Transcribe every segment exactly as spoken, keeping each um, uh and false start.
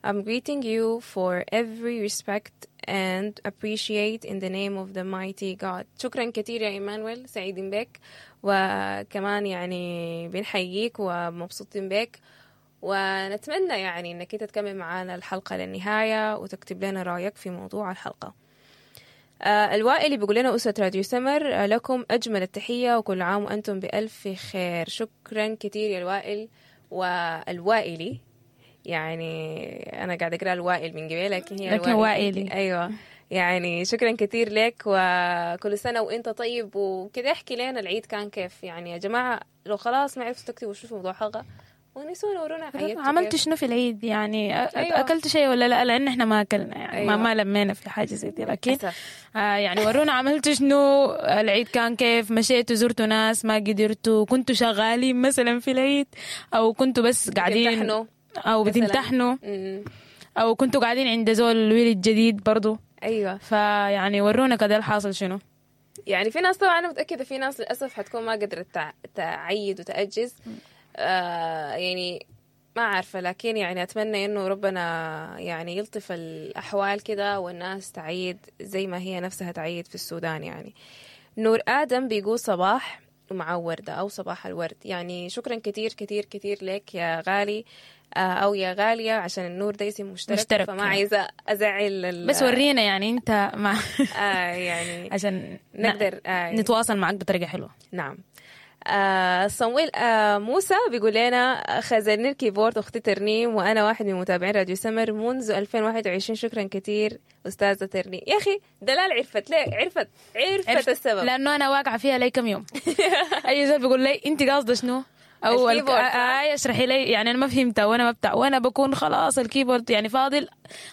I'm greeting you for every respect and appreciate in the name of the mighty God. شكرا كثير يا إيمانويل، سعيدين بك، وكمان يعني بنحييك ومبسوطين بك، ونتمنى يعني انك انت تكمل معانا الحلقة للنهاية وتكتب لنا رأيك في موضوع الحلقة. آه الوائلي بيقول لنا أسرة راديو سمر، آه لكم أجمل التحية وكل عام وأنتم بألف خير. شكرا كثير يا الوائل والوائلي، يعني أنا قاعدة أقرأ الوائل من قبل لكن هي لكن وائلي. أيوة، يعني شكرا كثير لك وكل سنة وأنت طيب. وكده احكي لنا العيد كان كيف يعني يا جماعة، لو خلاص ما عرفتوا تكتبوا شو في موضوع حلقة ونسونا ورونا عيدتوا عملت كيف. شنو في العيد يعني؟ أ- أيوة. اكلت شيء ولا لا؟ لان احنا ما اكلنا يعني. أيوة. ما ما لمينا في حاجة زي دي، لكن للأسف. آه يعني ورونا عملتوا شنو العيد كان كيف، مشيتوا زرتوا ناس ما قدرتوا، كنتوا شغالين مثلا في العيد، او كنتوا بس قاعدين بتمتحنوا او مثلاً. بتمتحنوا، مم. او كنتوا قاعدين عند زول ولد جديد برضو. ايوه، فيعني ورونا كده الحاصل شنو. يعني في ناس طبعا انا متاكدة في ناس للاسف حتكون ما قدرت تع- تعيد وتاجز، آه يعني ما عارفه، لكن يعني اتمنى انه ربنا يعني يلطف الاحوال كده والناس تعيد زي ما هي نفسها تعيد في السودان. يعني نور ادم بيقول صباح ومع وردة أو صباح الورد. يعني شكرا كتير كتير كتير لك يا غالي، آه، أو يا غالية، عشان النور ده اسم مشترك، مشترك. فما عايزة أزعل ال- بس ورينا يعني انت مع آه يعني عشان نقدر آه نتواصل معك بطريقة حلوة. نعم. آه صمويل آه موسى بيقول لنا خزلني ال keyboard اختي ترنيم، وانا واحد من متابعين راديو سمر منذ ألفين وواحد وعشرين. شكرا كثير استاذه ترنيم. يا اخي دلال عرفت ليه، عرفت عرفت, عرفت السبب، لانه انا واقعه فيها لي كم يوم. اي زول بيقول لي انت قاصده شنو او ال keyboard. آه اشرحي لي، يعني انا ما فهمتها وانا ما بتاع، وانا بكون خلاص ال keyboard يعني فاضل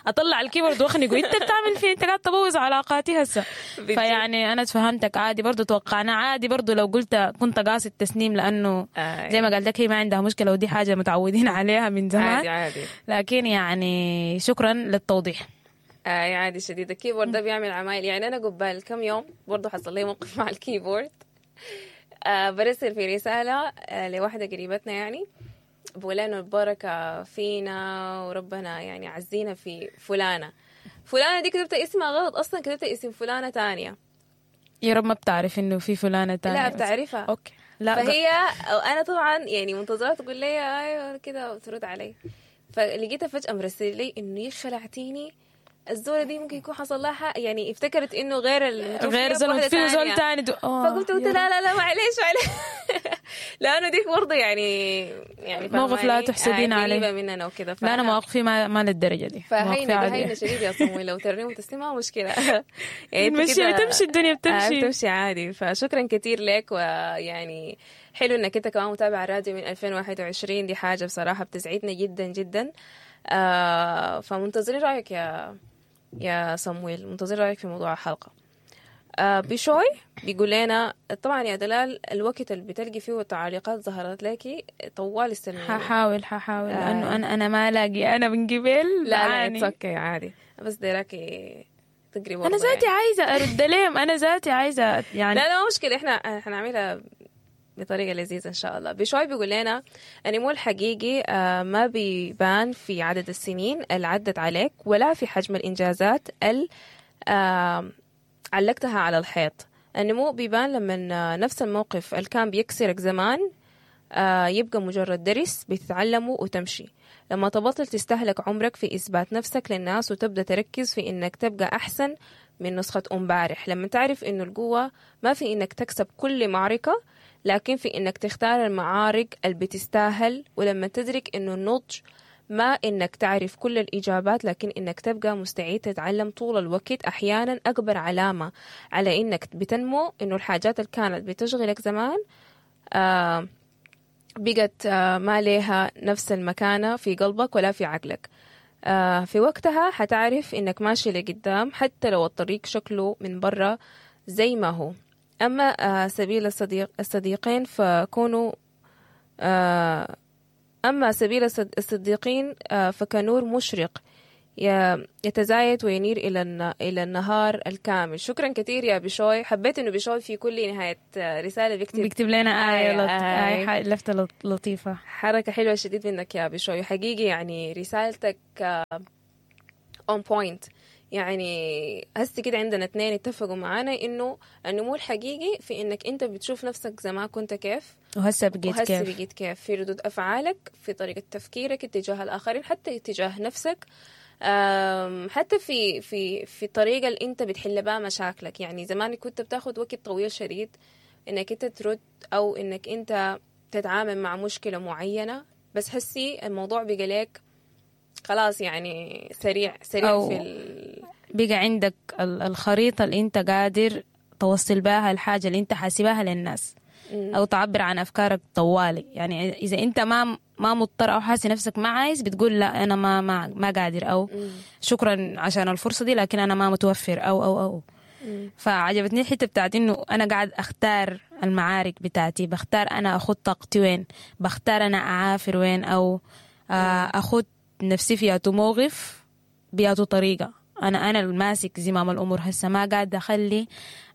اطلع ال keyboard واخنقه. انت بتعمل فيه، انت قاعد تبوظ علاقاتي هسه. فيعني انا تفهمتك عادي، برضو توقعنا عادي برضو لو قلت كنت قاصد تسنيم، لانه آه زي ما قالت لك هي ما عندها مشكلة ودي حاجة متعودين عليها من زمان. عادي عادي، لكن يعني شكرا للتوضيح. آه عادي شديد. ال keyboard ده بيعمل عمايل. يعني انا قبال كم يوم برضو حصل لي موقف مع ال keyboard. آه برسل في رسالة آه لواحدة قريبتنا، يعني بقول إنه البركة فينا وربنا يعني عزينا في فلانة. فلانة دي كتبت اسمها غلط أصلا، كتبت اسم فلانة تانية. يا رب ما بتعرف إنه في فلانة تانية. لا بتعرفها. okay. لا فهي أنا طبعا يعني منتظرة تقول لي أيوة كده وترد علي، فلقيتها فجأة مرسل لي إنه خلعتيني الزولة دي ممكن يكون حصل لها، يعني افتكرت انه غير غير زول في زول ثاني. فقلت قلت لا لا لا معلش معلش لانه ديك برضه يعني يعني موقف لا تحسدين عليه مننا وكده. لا انا مواقفي ما, ما للدرجة دي. فهينه هينة شديد يا صمويل، لو ترنيم وتسليم ما مشكلة. يعني تمشي تمشي الدنيا بتمشي بتمشي عادي. فشكرا كثير لك، ويعني حلو انك انت كمان متابع الراديو من ألفين وواحد وعشرين، دي حاجة بصراحة بتسعدنا جدا جدا. آه فمنتظرين رايك يا يا صمويل، منتظر رأيك في موضوع الحلقة. آه بشوي بيقول لنا طبعا يا دلال الوقت اللي بتلقي فيه التعليقات ظهرت لك طوال استلمي. ححاول ححاول آه. لأنه أنا أنا ما ألاقي، أنا من قبل لا لا okay عادي، بس دراكي تقري. أنا ذاتي يعني عايزة أرد لهم، أنا ذاتي عايزة يعني لا لا مشكلة، إحنا حنعملها بطريقة لذيذة إن شاء الله. بشوي بيقول لنا النمو الحقيقي ما بيبان في عدد السنين اللي عدت عليك ولا في حجم الإنجازات اللي علقتها على الحيط. النمو بيبان لما نفس الموقف اللي كان بيكسرك زمان يبقى مجرد درس بتتعلمه وتمشي. لما تبطل تستهلك عمرك في إثبات نفسك للناس وتبدأ تركز في إنك تبقى أحسن من نسخة أمبارح. لما تعرف إنه القوة ما في إنك تكسب كل معركة، لكن في إنك تختار المعارك اللي بتستاهل. ولما تدرك إنه النضج ما إنك تعرف كل الإجابات، لكن إنك تبقى مستعد تتعلم طول الوقت. أحيانا أكبر علامة على إنك بتنمو إنه الحاجات اللي كانت بتشغلك زمان آه بقت آه ما لها نفس المكانة في قلبك ولا في عقلك. آه في وقتها حتعرف إنك ماشي لقدام حتى لو الطريق شكله من برا زي ما هو. أما آه سبيل الصديق الصديقين فكونوا آه أما سبيل الصديقين آه فكنور مشرق ي- يتزايد وينير إلى الن- إلى النهار الكامل. شكرا كثير يا بشوي. حبيت إنه بشوي في كل نهاية رسالة بيكتب بيكتب لنا آية آية، لط... آية. آية ح- لفتة لط- لطيفة. حركة حلوة شديد منك يا بشوي حقيقي، يعني رسالتك on point. يعني هسه كده عندنا اثنين اتفقوا معانا انه النمو الحقيقي في انك انت بتشوف نفسك زمان كنت كيف وهسه بقيت وهسه كيف. بقيت كيف، في ردود افعالك، في طريقة تفكيرك اتجاه الاخرين، حتى اتجاه نفسك، أم، حتى في في في الطريقة اللي انت بتحل بها مشاكلك. يعني زمان كنت بتاخد وقت طويل شديد انك انت ترد او انك انت تتعامل مع مشكلة معينة، بس حسي الموضوع بقى لك خلاص يعني سريع سريع أو في ال... بقى عندك ال- الخريطة اللي انت قادر توصل بها الحاجة اللي انت حاسبها للناس، او تعبر عن افكارك طوالي. يعني اذا انت ما ما مضطر او حاسس نفسك ما عايز، بتقول لا انا ما ما ما قادر، او شكرا عشان الفرصة دي لكن انا ما متوفر، او او او فعجبتني الحتة بتاعت انه انا قاعد اختار المعارك بتاعتي، بختار انا اخد طاقتي وين، بختار انا اعافر وين، او آه، اخد نفسي في ياتو موقف بياتو طريقه. انا انا الماسك زمام الامور هسه، ما قاعد اخلي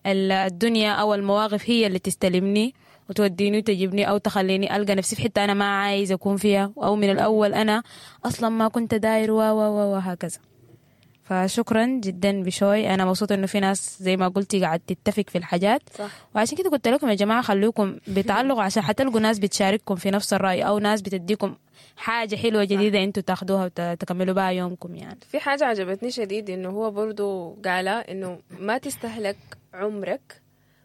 ال- الدنيا او المواقف هي اللي تستلمني وتوديني وتجيبني، او تخليني القى نفسي في حتة انا ما عايز اكون فيها، او من الاول انا اصلا ما كنت داير و و و وهكذا. فشكرا جدا بشوي، انا مبسوطة انه في ناس زي ما قلتي قاعد تتفق في الحاجات. صح. وعشان كده قلت لكم يا جماعة خلوكم بتعلقوا، عشان حتلقوا ناس بتشارككم في نفس الراي، او ناس بتديكم حاجة حلوة جديدة انتوا تاخدوها وتكملوا بها يومكم. يعني في حاجة عجبتني شديد إنه هو برضو قال إنه ما تستهلك عمرك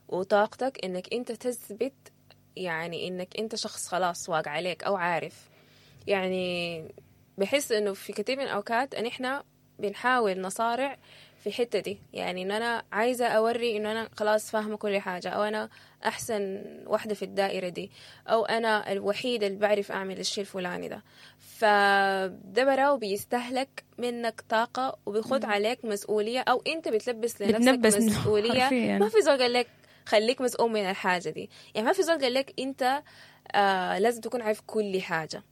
وطاقتك إنك أنت تثبت يعني إنك أنت شخص خلاص واقع عليك أو عارف. يعني بحس إنه في كثير من الأوقات إن إحنا بنحاول نصارع في الحتة دي، يعني إن أنا عايزة أوري إنه أنا خلاص فاهمة كل حاجة، أو أنا أحسن واحدة في الدائرة دي، أو أنا الوحيدة اللي بعرف أعمل الشيء الفلاني ده. فده براو بيستهلك منك طاقة وبيخد عليك مسؤولية، أو أنت بتلبس لنفسك بتنبس مسؤولية. حرفياً. ما في زول قال لك خليك مسؤول من الحاجة دي، يعني ما في زول قال لك أنت آه لازم تكون عارف كل حاجة.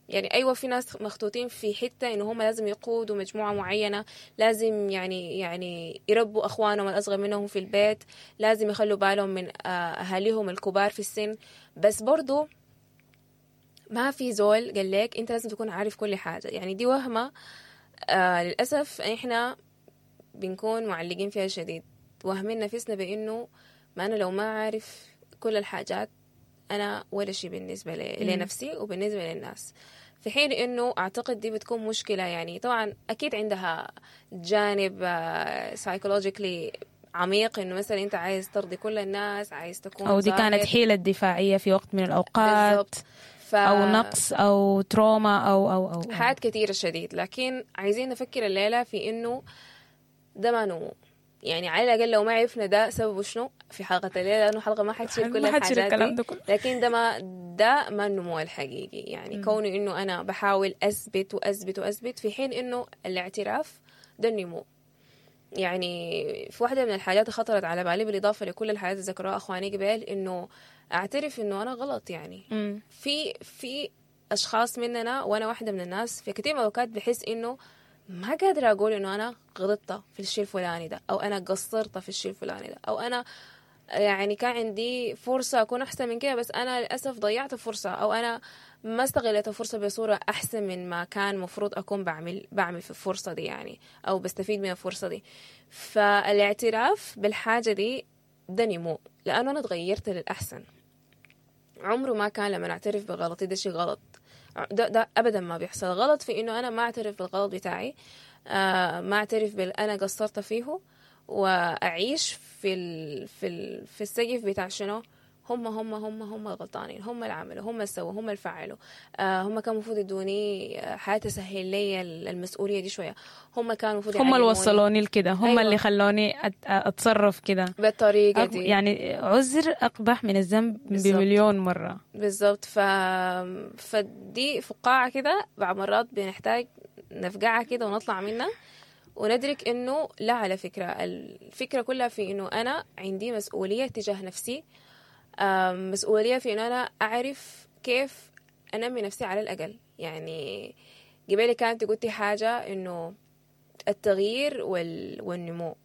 يعني أيوة في ناس مخطوطين في حتة إنه هم لازم يقودوا مجموعة معينة، لازم يعني يعني يربوا أخوانهم الأصغر منهم في البيت، لازم يخلوا بالهم من آه، أهاليهم الكبار في السن. بس برضو ما في زول قال لك أنت لازم تكون عارف كل حاجة. يعني دي وهمة آه للأسف إحنا بنكون معلقين فيها شديد، وهمين نفسنا بإنه ما أنا لو ما عارف كل الحاجات أنا ولا شيء بالنسبة ل- لنفسي وبالنسبة للناس. في حين إنه أعتقد دي بتكون مشكلة. يعني طبعا أكيد عندها جانب psychologically عميق، إنه مثلا أنت عايز ترضي كل الناس، عايز تكون او دي كانت ظاهر. حيله دفاعية في وقت من الاوقات، بالضبط. ف... او نقص او trauma او او او, أو. حاجات كثيرة شديد. لكن عايزين نفكر الليلة في إنه ده ما نمو. يعني على الأقل لو ما عرفنا ده سببه شنو في حلقة الليلة، لأنه حلقة ما حتشيل كل ما حتشيل الحاجات الكلام دي، ده كله. لكن ده ما ده ما النمو الحقيقي. يعني كونه إنه أنا بحاول أثبت وأثبت وأثبت، في حين إنه الاعتراف ده النمو. يعني في واحدة من الحاجات اللي خطرت على بالي بالإضافة لكل الحاجات اللي ذكروها أخواني قبل، إنه أعترف إنه أنا غلط. يعني مم. في في أشخاص مننا، وأنا واحدة من الناس، في كثير من الأوقات بحس إنه ما قادرة أقول إنه أنا غلطت في الشيء الفلاني ده، أو أنا قصرت في الشيء الفلاني ده، أو أنا يعني كان عندي فرصة أكون أحسن من كده بس أنا للأسف ضيعت الفرصة، أو أنا ما استغلت الفرصة بصورة أحسن من ما كان مفروض أكون بعمل بعمل في الفرصة دي يعني، أو بستفيد من الفرصة دي. فالاعتراف بالحاجة دي ده نمو، لأنه أنا تغيرت للأحسن. عمره ما كان لما أعترف بغلطي ده شيء غلط، ده, ده أبدا ما بيحصل. غلط في إنه أنا ما أعترف بالغلط بتاعي، آه ما أعترف بال أنا قصرت فيه، وأعيش في ال في ال في السقف بتاع شنو هم هم هم هم الغلطانين، هم اللي عملوا، هم اللي سووا، هم اللي فعلوا، آه هم كانوا المفروض يدوني حياة تسهل لي المسؤولية دي شوية، هم كانوا المفروض هم اللي يعلموني وصلوني لكده، هم أيوة. اللي خلوني أت- اتصرف كده. بالطريقة أق- دي يعني عذر اقبح من الذنب بالظبط. بمليون مرة. بالظبط. ف... فدي فقاعة كده بعض مرات بنحتاج نفقعها كده ونطلع منها وندرك انه لا، على فكرة الفكرة كلها في انه انا عندي مسؤولية تجاه نفسي، آم، مسؤولية في انه انا اعرف كيف انمي نفسي على الاقل. يعني قبالي كانت قلتي حاجة انه التغيير وال... والنمو.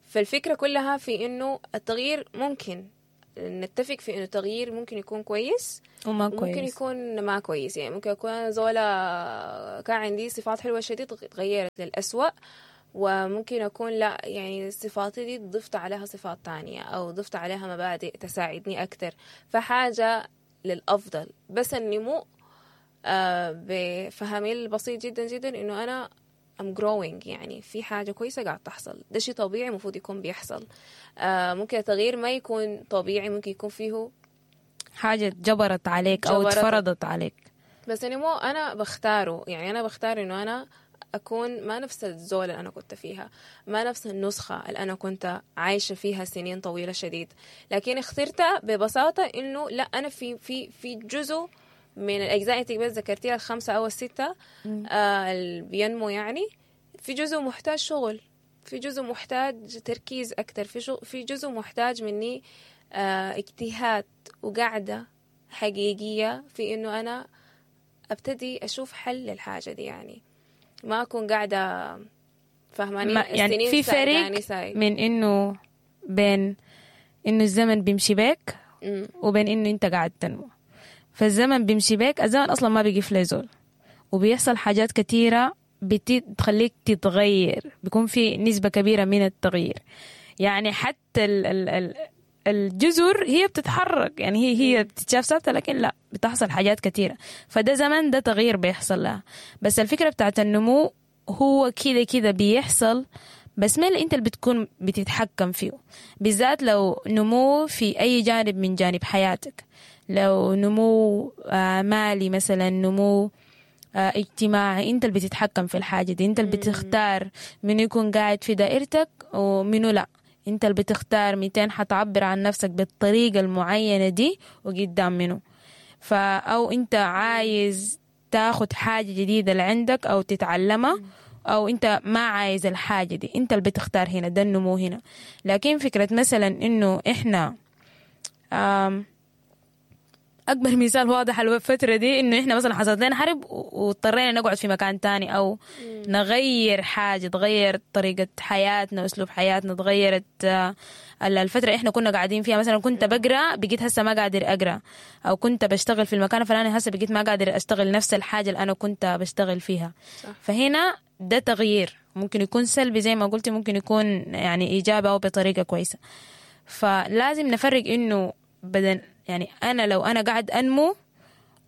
فالفكرة كلها في إنه التغيير ممكن نتفق في إنه التغيير ممكن يكون كويس وما ممكن كويس. يكون ما كويس. يعني ممكن أكون أنا زولة كان عندي صفات حلوة شديد تغيرت للأسوأ، وممكن أكون لا، يعني صفاتي دي ضفت عليها صفات تانية أو ضفت عليها مبادئ تساعدني أكتر، فحاجة للأفضل. بس النمو آه بفهمي البسيط جدا جدا إنه أنا I'm growing، يعني في حاجة كويسة قاعد تحصل، ده شيء طبيعي المفروض يكون بيحصل. آه ممكن التغيير ما يكون طبيعي، ممكن يكون فيه حاجة جبرت عليك أو جبرت. اتفرضت عليك. بس النمو أنا بختاره، يعني أنا بختار إنه أنا أكون ما نفس الزول اللي أنا كنت فيها، ما نفس النسخة اللي أنا كنت عايشة فيها سنين طويلة شديد، لكن اخترتها ببساطة إنه لا، أنا في في في جزء من الأجزاء اللي بس ذكرتيها الخمسة أو الستة آه اللي بينمو، يعني في جزء محتاج شغل، في جزء محتاج تركيز أكتر، في شو في جزء محتاج مني آه اجتهاد وقعدة حقيقية في إنه أنا أبتدي أشوف حل للحاجة دي، يعني ما أكون قاعدة فاهماني ما يعني السنين في فريق ساعداني ساي. من إنه بين إنه الزمن بيمشي بيك مم. وبين إنه أنت قاعد تنمو. فالزمن بيمشي بيك، الزمن أصلا ما بيقف لزول، وبيحصل حاجات كتيرة بتخليك تتغير، بيكون في نسبة كبيرة من التغيير. يعني حتى ال ال ال الجذور هي بتتحرك، يعني هي هي بتتشاف ثابتة لكن لا، بتحصل حاجات كتيرة. فده زمن، ده تغيير بيحصل لها. بس الفكرة بتاعت النمو هو كده كده بيحصل، بس ما اللي انت اللي بتكون بتتحكم فيه، بالذات لو نمو في أي جانب من جانب حياتك، لو نمو آه، مالي مثلا، نمو آه، اجتماعي، انت اللي بتتحكم في الحاجة دي، انت اللي بتختار منو يكون قاعد في دائرتك ومنو لا، انت اللي بتختار ميتين حتعبر عن نفسك بالطريقة المعينة دي وقدام منو. فا أو انت عايز تاخد حاجة جديدة اللي عندك أو تتعلمها، أو انت ما عايز الحاجة دي، انت اللي بتختار هنا، ده النمو هنا. لكن فكرة مثلا انه احنا آم أكبر مثال واضح الفترة دي إنه إحنا مثلا حصلت لنا حرب واضطرينا نقعد في مكان تاني أو نغير حاجة، تغير طريقة حياتنا وأسلوب حياتنا، تغيرت آه، الفترة إحنا كنا قاعدين فيها. مثلا كنت بقرأ بقيت هسه ما قادر أقرأ، أو كنت بشتغل في المكان الفلاني هسه بقيت ما قادر أشتغل نفس الحاجة اللي أنا كنت بشتغل فيها. صح. فهنا ده تغيير ممكن يكون سلبي زي ما قلتي، ممكن يكون يعني إيجابي أو بطريقة كويسة. فلازم نفرق إنه بدل يعني أنا لو أنا قاعد أنمو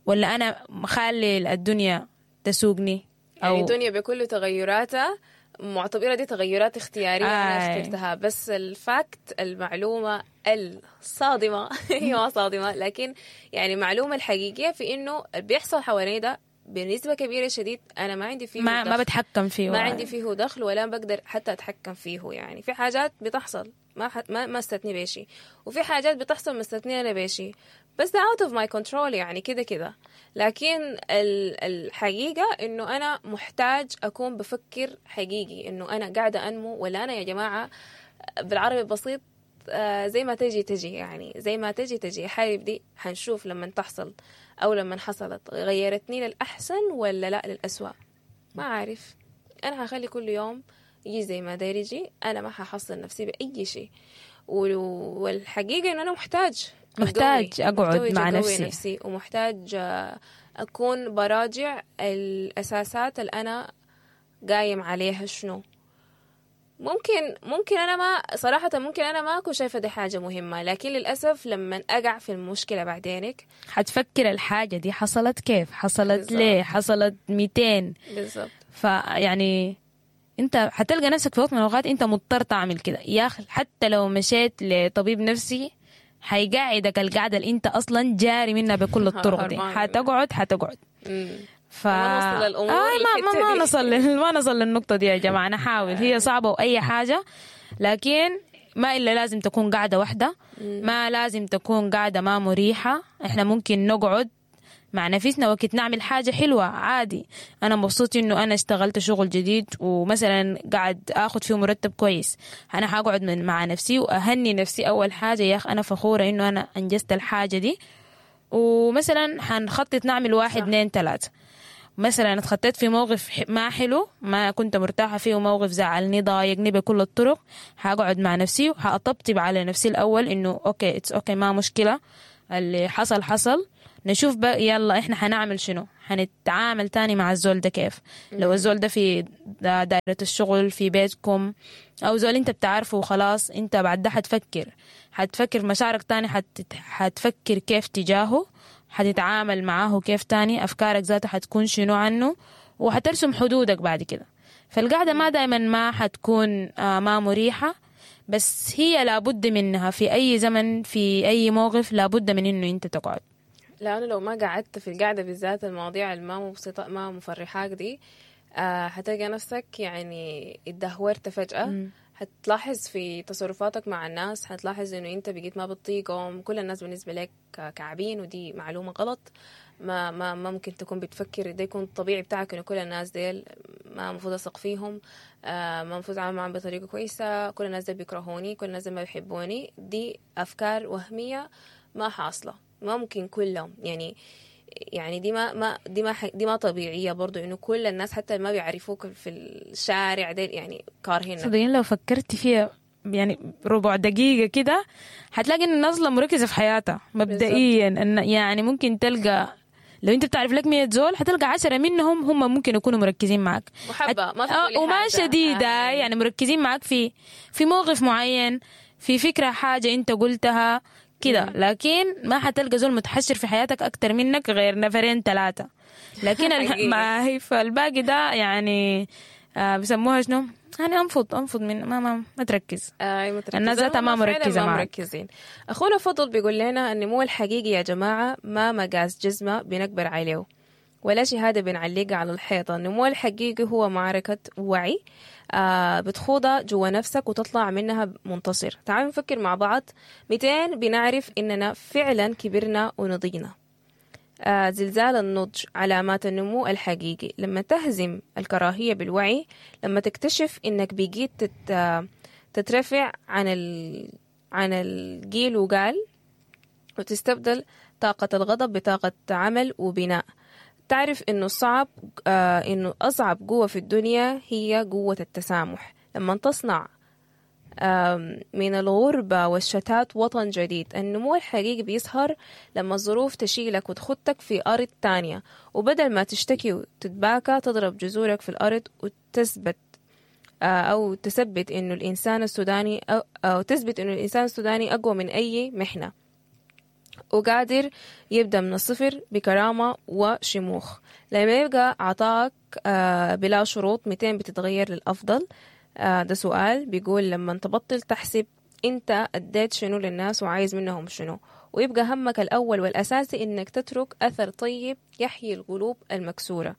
ولا أنا مخلي الدنيا تسوقني. أو يعني الدنيا بكل تغيراتها معتبرة دي تغيرات اختيارية أنا آي. اخترتها، بس ال fact المعلومة الصادمة هي ما صادمة، لكن يعني المعلومة الحقيقية في إنه اللي بيحصل حوالي ده بنسبة كبيرة شديد أنا ما عندي فيه ما ما دخل. بتحكم فيه، ما عندي فيه دخل ولا بقدر حتى أتحكم فيه. يعني في حاجات بتحصل ما ح... ما ما استثني بشي، وفي حاجات بتحصل مستثنية أنا بشي، بس ده out of my control يعني كده كده. لكن ال... الحقيقة إنه أنا محتاج أكون بفكر حقيقي إنه أنا قاعدة أنمو ولا أنا يا جماعة بالعربي البسيط آه، زي ما تجي تجي، يعني زي ما تجي تجي. حارب دي حنشوف لما تحصل أو لما حصلت غيرتني للأحسن ولا لا للأسوأ، ما عارف. أنا هخلي كل يوم يجي زي ما داير يجي، أنا ما ححصل نفسي بأي شيء. والحقيقة إنه أنا محتاج محتاج أقوي، أقعد محتاج مع أقوي نفسي. نفسي، ومحتاج آه، أكون براجع الأساسات اللي أنا قايم عليها شنو. ممكن ممكن أنا ما صراحة ممكن أنا ما أكون شايفة دي حاجة مهمة، لكن للأسف لما أقع في المشكلة بعدينك حتفكر الحاجة دي حصلت كيف، حصلت بالظبط. ليه، حصلت ميتين. بالضبط. فيعني انت حتلقى نفسك في وقت من الاوقات انت مضطر تعمل كده يا اخي. حتى لو مشيت لطبيب نفسي حيقعدك القعده اللي انت اصلا جاري منها بكل الطرق دي، هربان منها. حتقعد حتقعد مم. ف ما نوصل للأمور آه ما ما, ما للحتة دي. نصل لل- ما نصل للنقطة دي يا جماعة. نحاول، هي صعبة وأي حاجة، لكن ما إلا لازم تكون قاعدة واحدة، ما لازم تكون قاعدة ما مريحة. إحنا ممكن نقعد مع نفسنا وقت نعمل حاجة حلوة عادي. أنا مبسوط إنه أنا اشتغلت شغل جديد ومثلا قاعد آخد فيه مرتب كويس، أنا حقعد من مع نفسي وأهني نفسي أول حاجة، يا أخ أنا فخورة إنه أنا أنجزت الحاجة دي، ومثلا حنخطط نعمل واحد صح. اثنين ثلاثة. مثلا اتخطيت في موقف ح- ما حلو، ما كنت مرتاحة فيه، موقف زعلني ضايقني بكل الطرق، حقعد مع نفسي وحأطبطب على نفسي الأول إنه okay it's okay، ما مشكلة، اللي حصل حصل، نشوف بقى يلا احنا حنعمل شنو، حنتعامل تاني مع الزول ده كيف. لو الزول ده في دا- دائرة الشغل، في بيتكم، او زول انت بتعرفه وخلاص، انت بعد ده حتفكر، حتفكر مشاعرك تاني، حت... حتفكر كيف تجاهه، حتتعامل معاه كيف تاني، افكارك ذاتها حتكون شنو عنه، وحترسم حدودك بعد كده. فالقعدة ما دايما ما حتكون آه، ما مريحة، بس هي لابد منها في أي زمن في أي موقف، لابد من إنه أنت تقعد. لأنه لو ما قعدت في القعدة بالذات المواضيع اللي ما مبسطة ما مفرحاك دي، آه حتلقى نفسك يعني اتدهورت فجأة. حتلاحظ في تصرفاتك مع الناس، حتلاحظ انه انت بقيت ما بتطيقهم، كل الناس بالنسبة لك كعبين، ودي معلومة غلط. ما ما ما ممكن تكون بتفكر ده يكون الطبيعي بتاعك، انه كل الناس ديل ما المفروض اثق فيهم، آه ما المفروض اتعامل معاهم بطريقة كويسة، كل الناس ديل بيكرهوني، كل الناس ديل ما بيحبوني. دي افكار وهمية ما حاصلة، ما ممكن كلهم يعني يعني دي ما ما دي ما دي ما طبيعية برضو، انه كل الناس حتى ما بيعرفوك في الشارع ديل يعني كارهينك. صدقين لو فكرتي فيها يعني ربع دقيقة كده هتلاقي ان الناس مركزة في حياتها مبدئيا، ان يعني ممكن تلقى لو انت بتعرف لك مية زول حتلقى عشرة منهم هم ممكن يكونوا مركزين معك محبة ما في آه، كل وما حاجة. شديدة، آه. يعني مركزين معك في في موقف معين، في فكرة حاجة انت قلتها كده، لكن ما حتلقى زول متحشر في حياتك أكتر منك غير نفرين ثلاثة. لكن ال- حقيقي. ما هي فالباقي ده يعني آه بيسموها شنو؟ يعني انفض انفض من ما ما, ما تركز. آه متركزين. الناس ذاتها ما هم فعلاً مركزة ما معك. مركزين. أخونا فضل بيقول لنا النمو الحقيقي يا جماعة ما مقاس جزمة بنكبر عليه ولا شهادة بنعلقها على الحيطة. النمو الحقيقي هو معركة وعي، آه بتخوضها جوا نفسك وتطلع منها منتصر. تعالوا نفكر مع بعض، مئتين بنعرف إننا فعلا كبرنا ونضجنا. آه زلزال النضج، علامات النمو الحقيقي لما تهزم الكراهية بالوعي، لما تكتشف إنك بقيت تت آه، تترفع عن ال... عن الجيل وقال، وتستبدل طاقة الغضب بطاقة عمل وبناء. تعرف إنه الصعب آه إنه أصعب قوة في الدنيا هي قوة التسامح. لما تصنع آم، من الغربة والشتات وطن جديد. النمو الحقيقي بيظهر لما الظروف تشيلك وتخطك في أرض تانية، وبدل ما تشتكي وتتباكى تضرب جذورك في الأرض وتثبت آه، أو تثبت إنه الإنسان السوداني أو, أو تثبت إنه الإنسان السوداني أقوى من أي محنة وقادر يبدأ من الصفر بكرامة وشموخ. لما يبقى عطاك آه، بلا شروط، مئتين بتتغير للأفضل. آه، ده سؤال بيقول لما تبطل تحسب انت اديت شنو للناس وعايز منهم شنو، ويبقى همك الأول والأساسي إنك تترك أثر طيب يحيي القلوب المكسورة.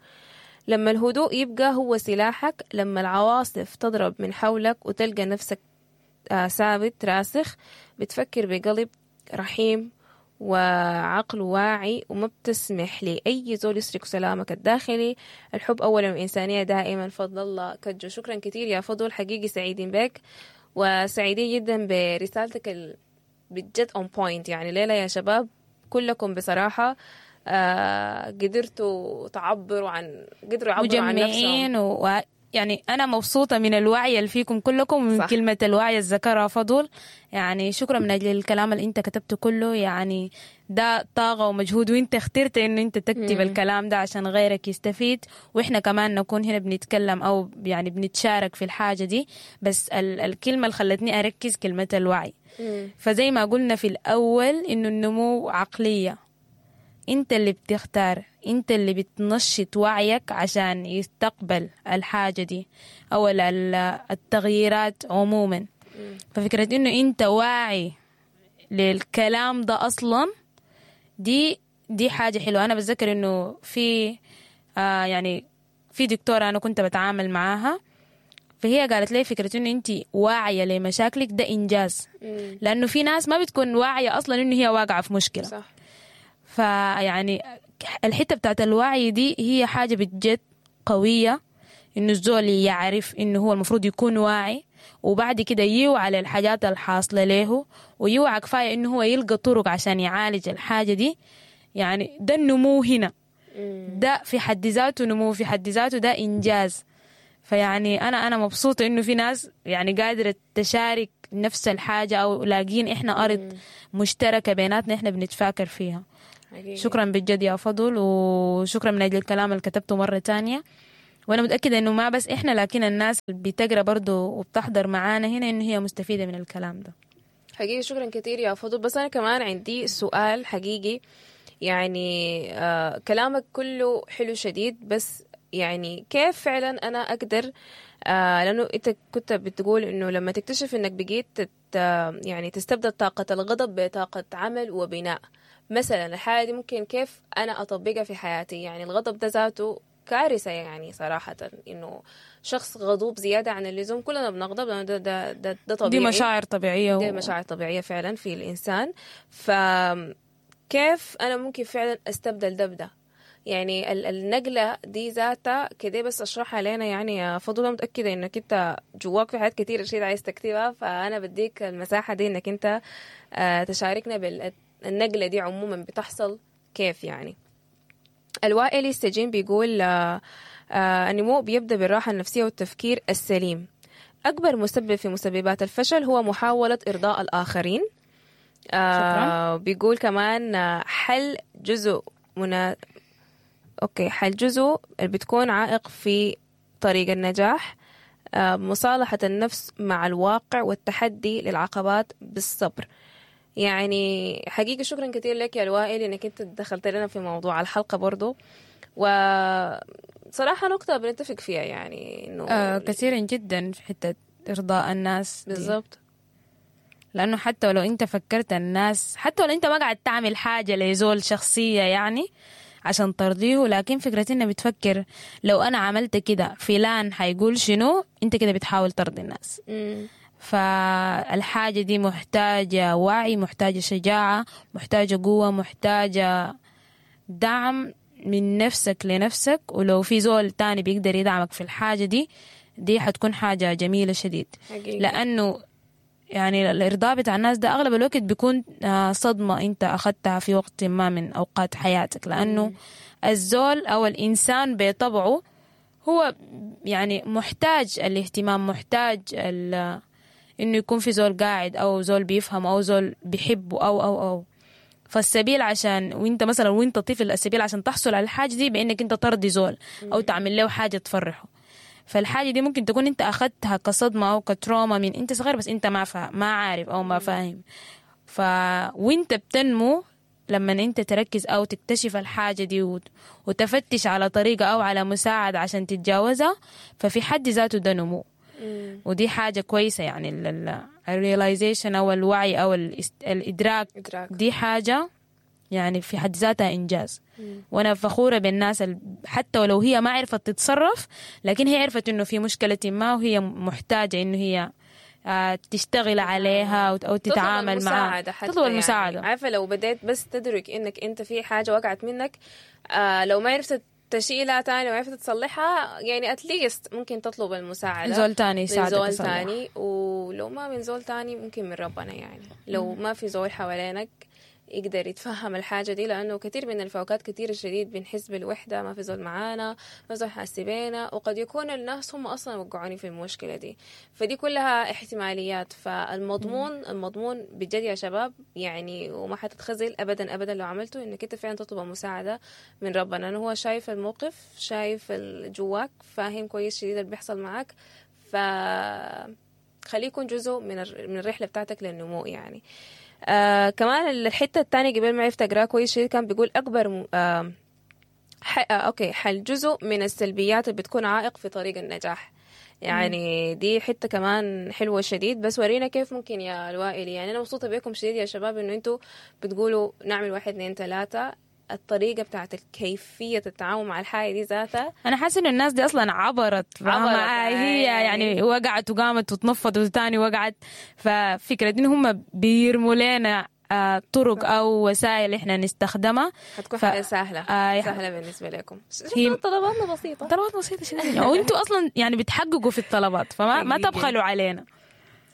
لما الهدوء يبقى هو سلاحك، لما العواصف تضرب من حولك وتلقى نفسك آه، ثابت راسخ، بتفكر بقلب رحيم وعقل واعي، وما بتسمح لأي زول يسرق سلامك الداخلي. الحب أولا والإنسانية دائما. فضل الله كجو، شكرا كثير يا فضل، حقيقي سعيدين بك وسعيدين جدا برسالتك ال... بجد on point. يعني ليلى يا شباب كلكم بصراحة آه قدرتوا تعبروا عن قدروا يعبروا عن نفسهم. مجمعين و... يعني أنا مبسوطة من الوعي اللي فيكم كلكم، ومن صح. كلمة الوعي اللي ذكرها فضل. يعني شكرا من أجل الكلام اللي أنت كتبته كله، يعني ده طاقة ومجهود، وأنت اخترت إنه أنت تكتب مم. الكلام ده عشان غيرك يستفيد، وإحنا كمان نكون هنا بنتكلم أو يعني بنتشارك في الحاجة دي. بس ال... الكلمة اللي خلتني أركز كلمة الوعي. مم. فزي ما قلنا في الأول إنه النمو عقلية، انت اللي بتختار، انت اللي بتنشط وعيك عشان يستقبل الحاجة دي او ال- ال- التغييرات عموما. ففكرة انه انت واعي للكلام ده اصلا دي دي حاجة حلوة. انا بتذكر انه في آه يعني في دكتورة انا كنت بتعامل معاها، فهي قالت لي فكرة انه انت واعية لمشاكلك ده انجاز، مم. لانه في ناس ما بتكون واعية اصلا انه هي واقعة في مشكلة. صح. فيعني الحتة بتاعت الوعي دي هي حاجة بجد قوية، إنه الزول يعرف إنه هو المفروض يكون واعي، وبعد كده يوعى للحاجات الحاصلة له، ويوعى كفاية إنه هو يلقى طرق عشان يعالج الحاجة دي. يعني ده النمو هنا. ده في حد ذاته نمو، في حد ذاته ده إنجاز. فيعني أنا أنا مبسوطة إنه في ناس يعني قادرة تشارك نفس الحاجة، أو لاقين إحنا أرض مشتركة بيناتنا إحنا بنتفاكر فيها. حقيقي. شكرا بجد يا فضل، وشكرا من أجل الكلام اللي كتبته مرة تانية. وأنا متأكدة إنه ما بس إحنا، لكن الناس اللي بتقرأ برضو وبتحضر معانا هنا إنه هي مستفيدة من الكلام ده. حقيقي شكرا كثير يا فضل. بس أنا كمان عندي سؤال حقيقي، يعني آه كلامك كله حلو شديد، بس يعني كيف فعلا أنا أقدر آه لأنه أنت كنت بتقول إنه لما تكتشف إنك بقيت تت يعني تستبدل طاقة الغضب بطاقة عمل وبناء مثلا، الحالة دي ممكن كيف أنا أطبقها في حياتي؟ يعني الغضب ده ذاته كارثة يعني صراحة، إنه شخص غضوب زيادة عن اللزوم، كلنا بنغضب لأنه ده ده ده, ده طبيعي، دي مشاعر طبيعية دي مشاعر طبيعية فعلا في الإنسان. فكيف أنا ممكن فعلا أستبدل ده بده؟ يعني النقلة دي ذاتها كده، بس أشرحها لنا يعني يا فضل. أنا متأكدة إنك أنت جواك في حاجات كتير شيء عايز تكتبها، فأنا بديك المساحة دي إنك أنت تشاركنا بالنقلة دي عموما بتحصل كيف. يعني الوائلي السجين بيقول آه النمو بيبدأ بالراحة النفسية والتفكير السليم. أكبر مسبب في مسببات الفشل هو محاولة إرضاء الآخرين. آه بيقول كمان حل جزء منا... أوكي حل جزء اللي بتكون عائق في طريق النجاح، آه مصالحة النفس مع الواقع والتحدي للعقبات بالصبر. يعني حقيقة شكرا كثير لك يا الوائل انك انت دخلت لنا في موضوع الحلقة برضو، وصراحة نقطة بنتفق فيها يعني انه آه كثيرا جدا في حتة ارضاء الناس بالضبط، لانه حتى لو انت فكرت الناس، حتى لو انت ما قاعد تعمل حاجة لزول شخصية يعني عشان ترضيه، لكن فكرة انك بتفكر لو انا عملت كده فلان حيقول شنو، انت كده بتحاول ترضي الناس. مم. فالحاجة دي محتاجة وعي، محتاجة شجاعة، محتاجة قوة، محتاجة دعم من نفسك لنفسك، ولو في زول تاني بيقدر يدعمك في الحاجة دي، دي حتكون حاجة جميلة شديد. حقيقي. لأنه يعني الإرضاء بتاع الناس ده أغلب الوقت بيكون صدمة أنت أخذتها في وقت ما من أوقات حياتك، لأنه مم. الزول أو الإنسان بطبعه هو يعني محتاج الاهتمام، محتاج ال إنه يكون في زول قاعد أو زول بيفهم أو زول بيحبه أو أو أو فالسبيل عشان وإنت مثلا وإنت طفل، السبيل عشان تحصل على الحاجة دي بإنك إنت ترضي زول أو تعمل له حاجة تفرحه. فالحاجة دي ممكن تكون إنت أخذتها كصدمة أو كتروما من إنت صغير، بس إنت ما فا... ما عارف أو ما فاهم. ف وإنت بتنمو لما إنت تركز أو تكتشف الحاجة دي وت... وتفتش على طريقة أو على مساعدة عشان تتجاوزها، ففي حد ذاته ده نمو. ودي حاجة كويسة يعني ال realization أو الوعي أو الإدراك، إدراك. دي حاجة يعني في حد ذاتها إنجاز. مم. وأنا فخورة بالناس حتى ولو هي ما عرفت تتصرف، لكن هي عرفت إنه في مشكلة ما وهي محتاجة إنه هي تشتغل عليها أو تتعامل معها، تطلب المساعدة. يعني عارفة لو بديت بس تدرك إنك أنت في حاجة وقعت منك، آه لو ما عرفت تشيلها تاني وعرفت تصلحها، يعني at least ممكن تطلب المساعدة زول تاني يساعدك، من زول تاني، ولو ما من زول تاني ممكن من ربنا. يعني لو ما في زول حوالينك يقدر يتفهم الحاجة دي، لأنه كثير من الفوقات كثير شديد بنحس بالوحدة، ما في زول معانا، ما في زول حاسبينا، وقد يكون الناس هم أصلا وقعوني في المشكلة دي. فدي كلها احتماليات. فالمضمون المضمون بجد يا شباب يعني، وما حتتخزل أبدا أبدا لو عملته، إنك أنت فعلا تطلب مساعدة من ربنا، لأنه هو شايف الموقف، شايف جواك، فاهم كويس شديد اللي بيحصل معاك. ف خليه يكون جزء من من الرحلة بتاعتك للنمو يعني. آه كمان الحتة الثانية قبل ما عرفت أقرأ كويس شيء، كان بيقول أكبر آه ح... آه أوكي حل جزء من السلبيات اللي بتكون عائق في طريق النجاح. يعني دي حتة كمان حلوة شديد. بس ورينا كيف ممكن يا الوائل. يعني أنا مبسوطة بيكم شديد يا شباب إنه أنتوا بتقولوا نعمل واحد اثنين ثلاثة، الطريقة بتاعت كيفية التعامل مع الحاجة دي ذاتها. أنا حاسة إنه الناس دي أصلاً عبرت، عبرت هي يعني وقعت وقامت وتنفضت وتاني وقعت. ففكرة إن هم بيرموا لنا طرق أو وسائل إحنا نستخدمها حتكون ف... حاجة سهلة آه سهلة بالنسبة لكم. هي طلباتنا بسيطة، طلبات بسيطة شديد، وأنتوا أصلاً يعني بتحققوا في الطلبات، فما ما تبخلوا علينا.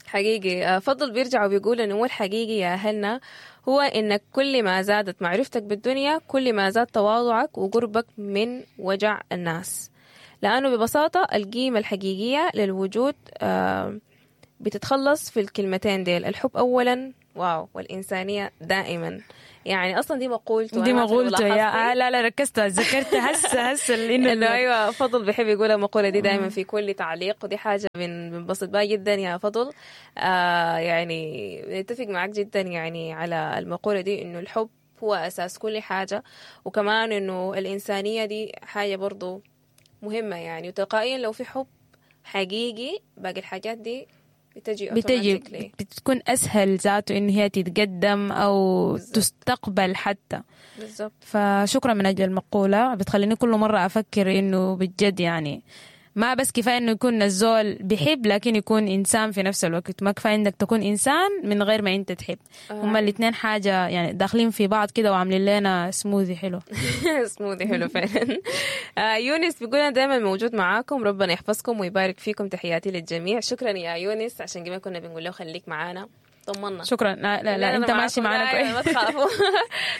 حقيقي. آه، فضل بيرجع وبيقول انه هو الحقيقي يا اهلنا هو انك كل ما زادت معرفتك بالدنيا كل ما زاد تواضعك وقربك من وجع الناس، لانه ببساطة القيمة الحقيقية للوجود آه، بتتخلص في الكلمتين ديل، الحب اولا واو والانسانية دائما. يعني اصلا دي مقولته، دي أنا ما أعرف لو مقولته يا لاحظتي. آه لا لا ركزت، ذكرت هسه هسه انه انه ايوه فضل بيحب يقول المقولة دي دائما في كل تعليق، ودي حاجة بن- بنبسط بها جدا يا فضل. آه يعني نتفق معك جدا يعني على المقولة دي، انه الحب هو اساس كل حاجة، وكمان انه الانسانية دي حاجة برضو مهمة يعني، وتلقائيا لو في حب حقيقي باقي الحاجات دي بتجي بتجي automatically. بتكون اسهل ذاته ان هي تتقدم او بالظبط. تستقبل حتى. بالظبط. فشكرا من اجل المقولة، بتخليني كل مرة افكر انه بجد يعني ما بس كفاية انه يكون الزول بيحب، لكن يكون انسان في نفس الوقت. ما كفاية انك تكون انسان من غير ما انت تحب. هما الاثنين حاجة يعني داخلين في بعض كده وعاملين لنا سموذي حلو. سموذي حلو فعلا. آه، يونس بيقول انا دائما موجود معاكم، ربنا يحفظكم ويبارك فيكم، تحياتي للجميع. شكرا يا يونس، عشان قبل كنا بنقول له خليك معانا، طمنا. شكرا. لا لا, لا أنا انت ماشي معاكم. معانا لا، أيوة، كويس. ما تخافوا.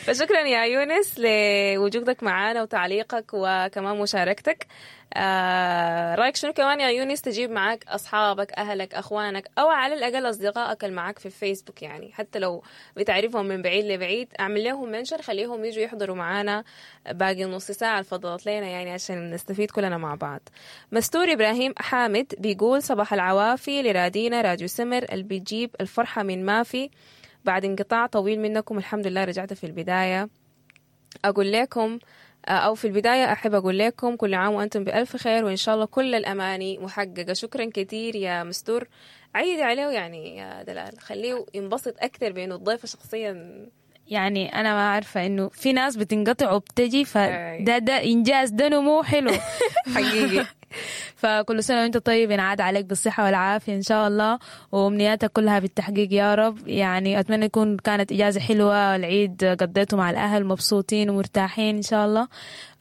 فشكرا يا يونس لوجودك معانا وتعليقك وكمان مشاركتك. آه رايك شنو كمان يا يونس تجيب معاك اصحابك، اهلك، اخوانك، او على الاقل اصدقائك اللي معاك في الفيسبوك، يعني حتى لو بتعرفهم من بعيد لبعيد اعمل لهم mention، خليهم يجوا يحضروا معانا باقي نص ساعة اللي فضلت لنا يعني عشان نستفيد كلنا مع بعض. مستور ابراهيم حامد بيقول صباح العوافي لرادينا راديو سمر اللي بيجيب الفرحة من ما في بعد انقطاع طويل منكم، الحمد لله رجعت. في البداية أقول لكم أو في البداية أحب أقول لكم كل عام وأنتم بألف خير، وإن شاء الله كل الأماني محققة. شكرا كثير يا مستور، عيدي عليه يعني يا دلال، خليه ينبسط أكثر بأنه الضيفة شخصيا. يعني انا ما عارفه انه في ناس بتنقطع وبتجي، أي. فده ده انجاز، ده نمو حلو. حقيقي. فكل سنة وانت طيب، ينعاد عليك بالصحة والعافية ان شاء الله، وامنياتك كلها بالتحقيق يا رب. يعني اتمنى يكون كانت اجازه حلوة، العيد قضيته مع الاهل مبسوطين ومرتاحين ان شاء الله.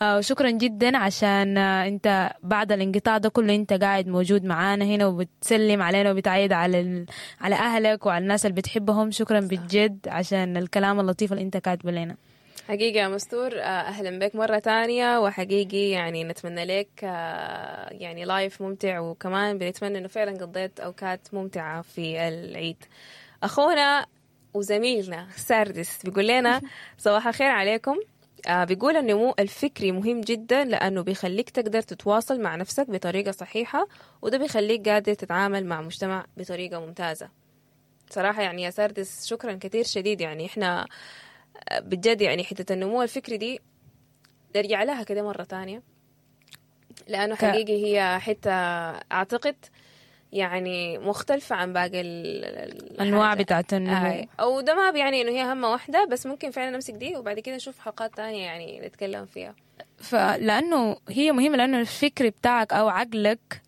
آه، وشكرا جدا عشان آه، انت بعد الانقطاع ده كله انت قاعد موجود معانا هنا وبتسلم علينا وبتعيد على ال... على اهلك وعلى الناس اللي بتحبهم. شكرا بجد عشان الكلام اللطيف اللي انت كاتبه لنا. حقيقي يا مستور، آه، أهلا بك مرة تانية، وحقيقي يعني نتمنى لك آه، يعني life ممتع، وكمان بنتمنى إنه فعلا قضيت أوقات ممتعة في العيد. أخونا وزميلنا ساردس بيقول لنا صباح الخير عليكم. آه، بيقول النمو الفكري مهم جدا لأنه بيخليك تقدر تتواصل مع نفسك بطريقة صحيحة، وده بيخليك قادر تتعامل مع مجتمع بطريقة ممتازة. صراحة يعني يا ساردس شكرا كثير شديد، يعني إحنا بجد يعني حتة النمو الفكري دي نرجع لها كده مرة تانية، لأنه ك- حقيقي هي حتة أعتقد يعني مختلفة عن باقي ال- ال- انواع الحاجات. بتاعت النمو. آه. أو ده ما بيعني إنه هي أهم واحدة، بس ممكن فعلا نمسك دي وبعد كده نشوف حلقات تانية يعني نتكلم فيها. فلانه هي مهمة، لانه الفكر بتاعك او عقلك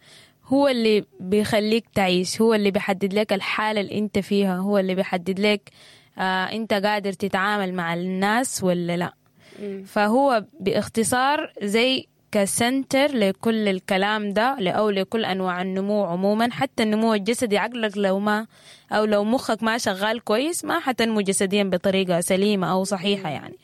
هو اللي بيخليك تعيش، هو اللي بيحدد لك الحالة اللي انت فيها، هو اللي بيحدد لك آه انت قادر تتعامل مع الناس ولا لا. فهو باختصار زي كسنتر لكل الكلام ده، أو لكل أنواع النمو عموما، حتى النمو الجسدي. عقلك لو ما أو لو مخك ما شغال كويس ما حتنمو جسديا بطريقة سليمة أو صحيحة يعني.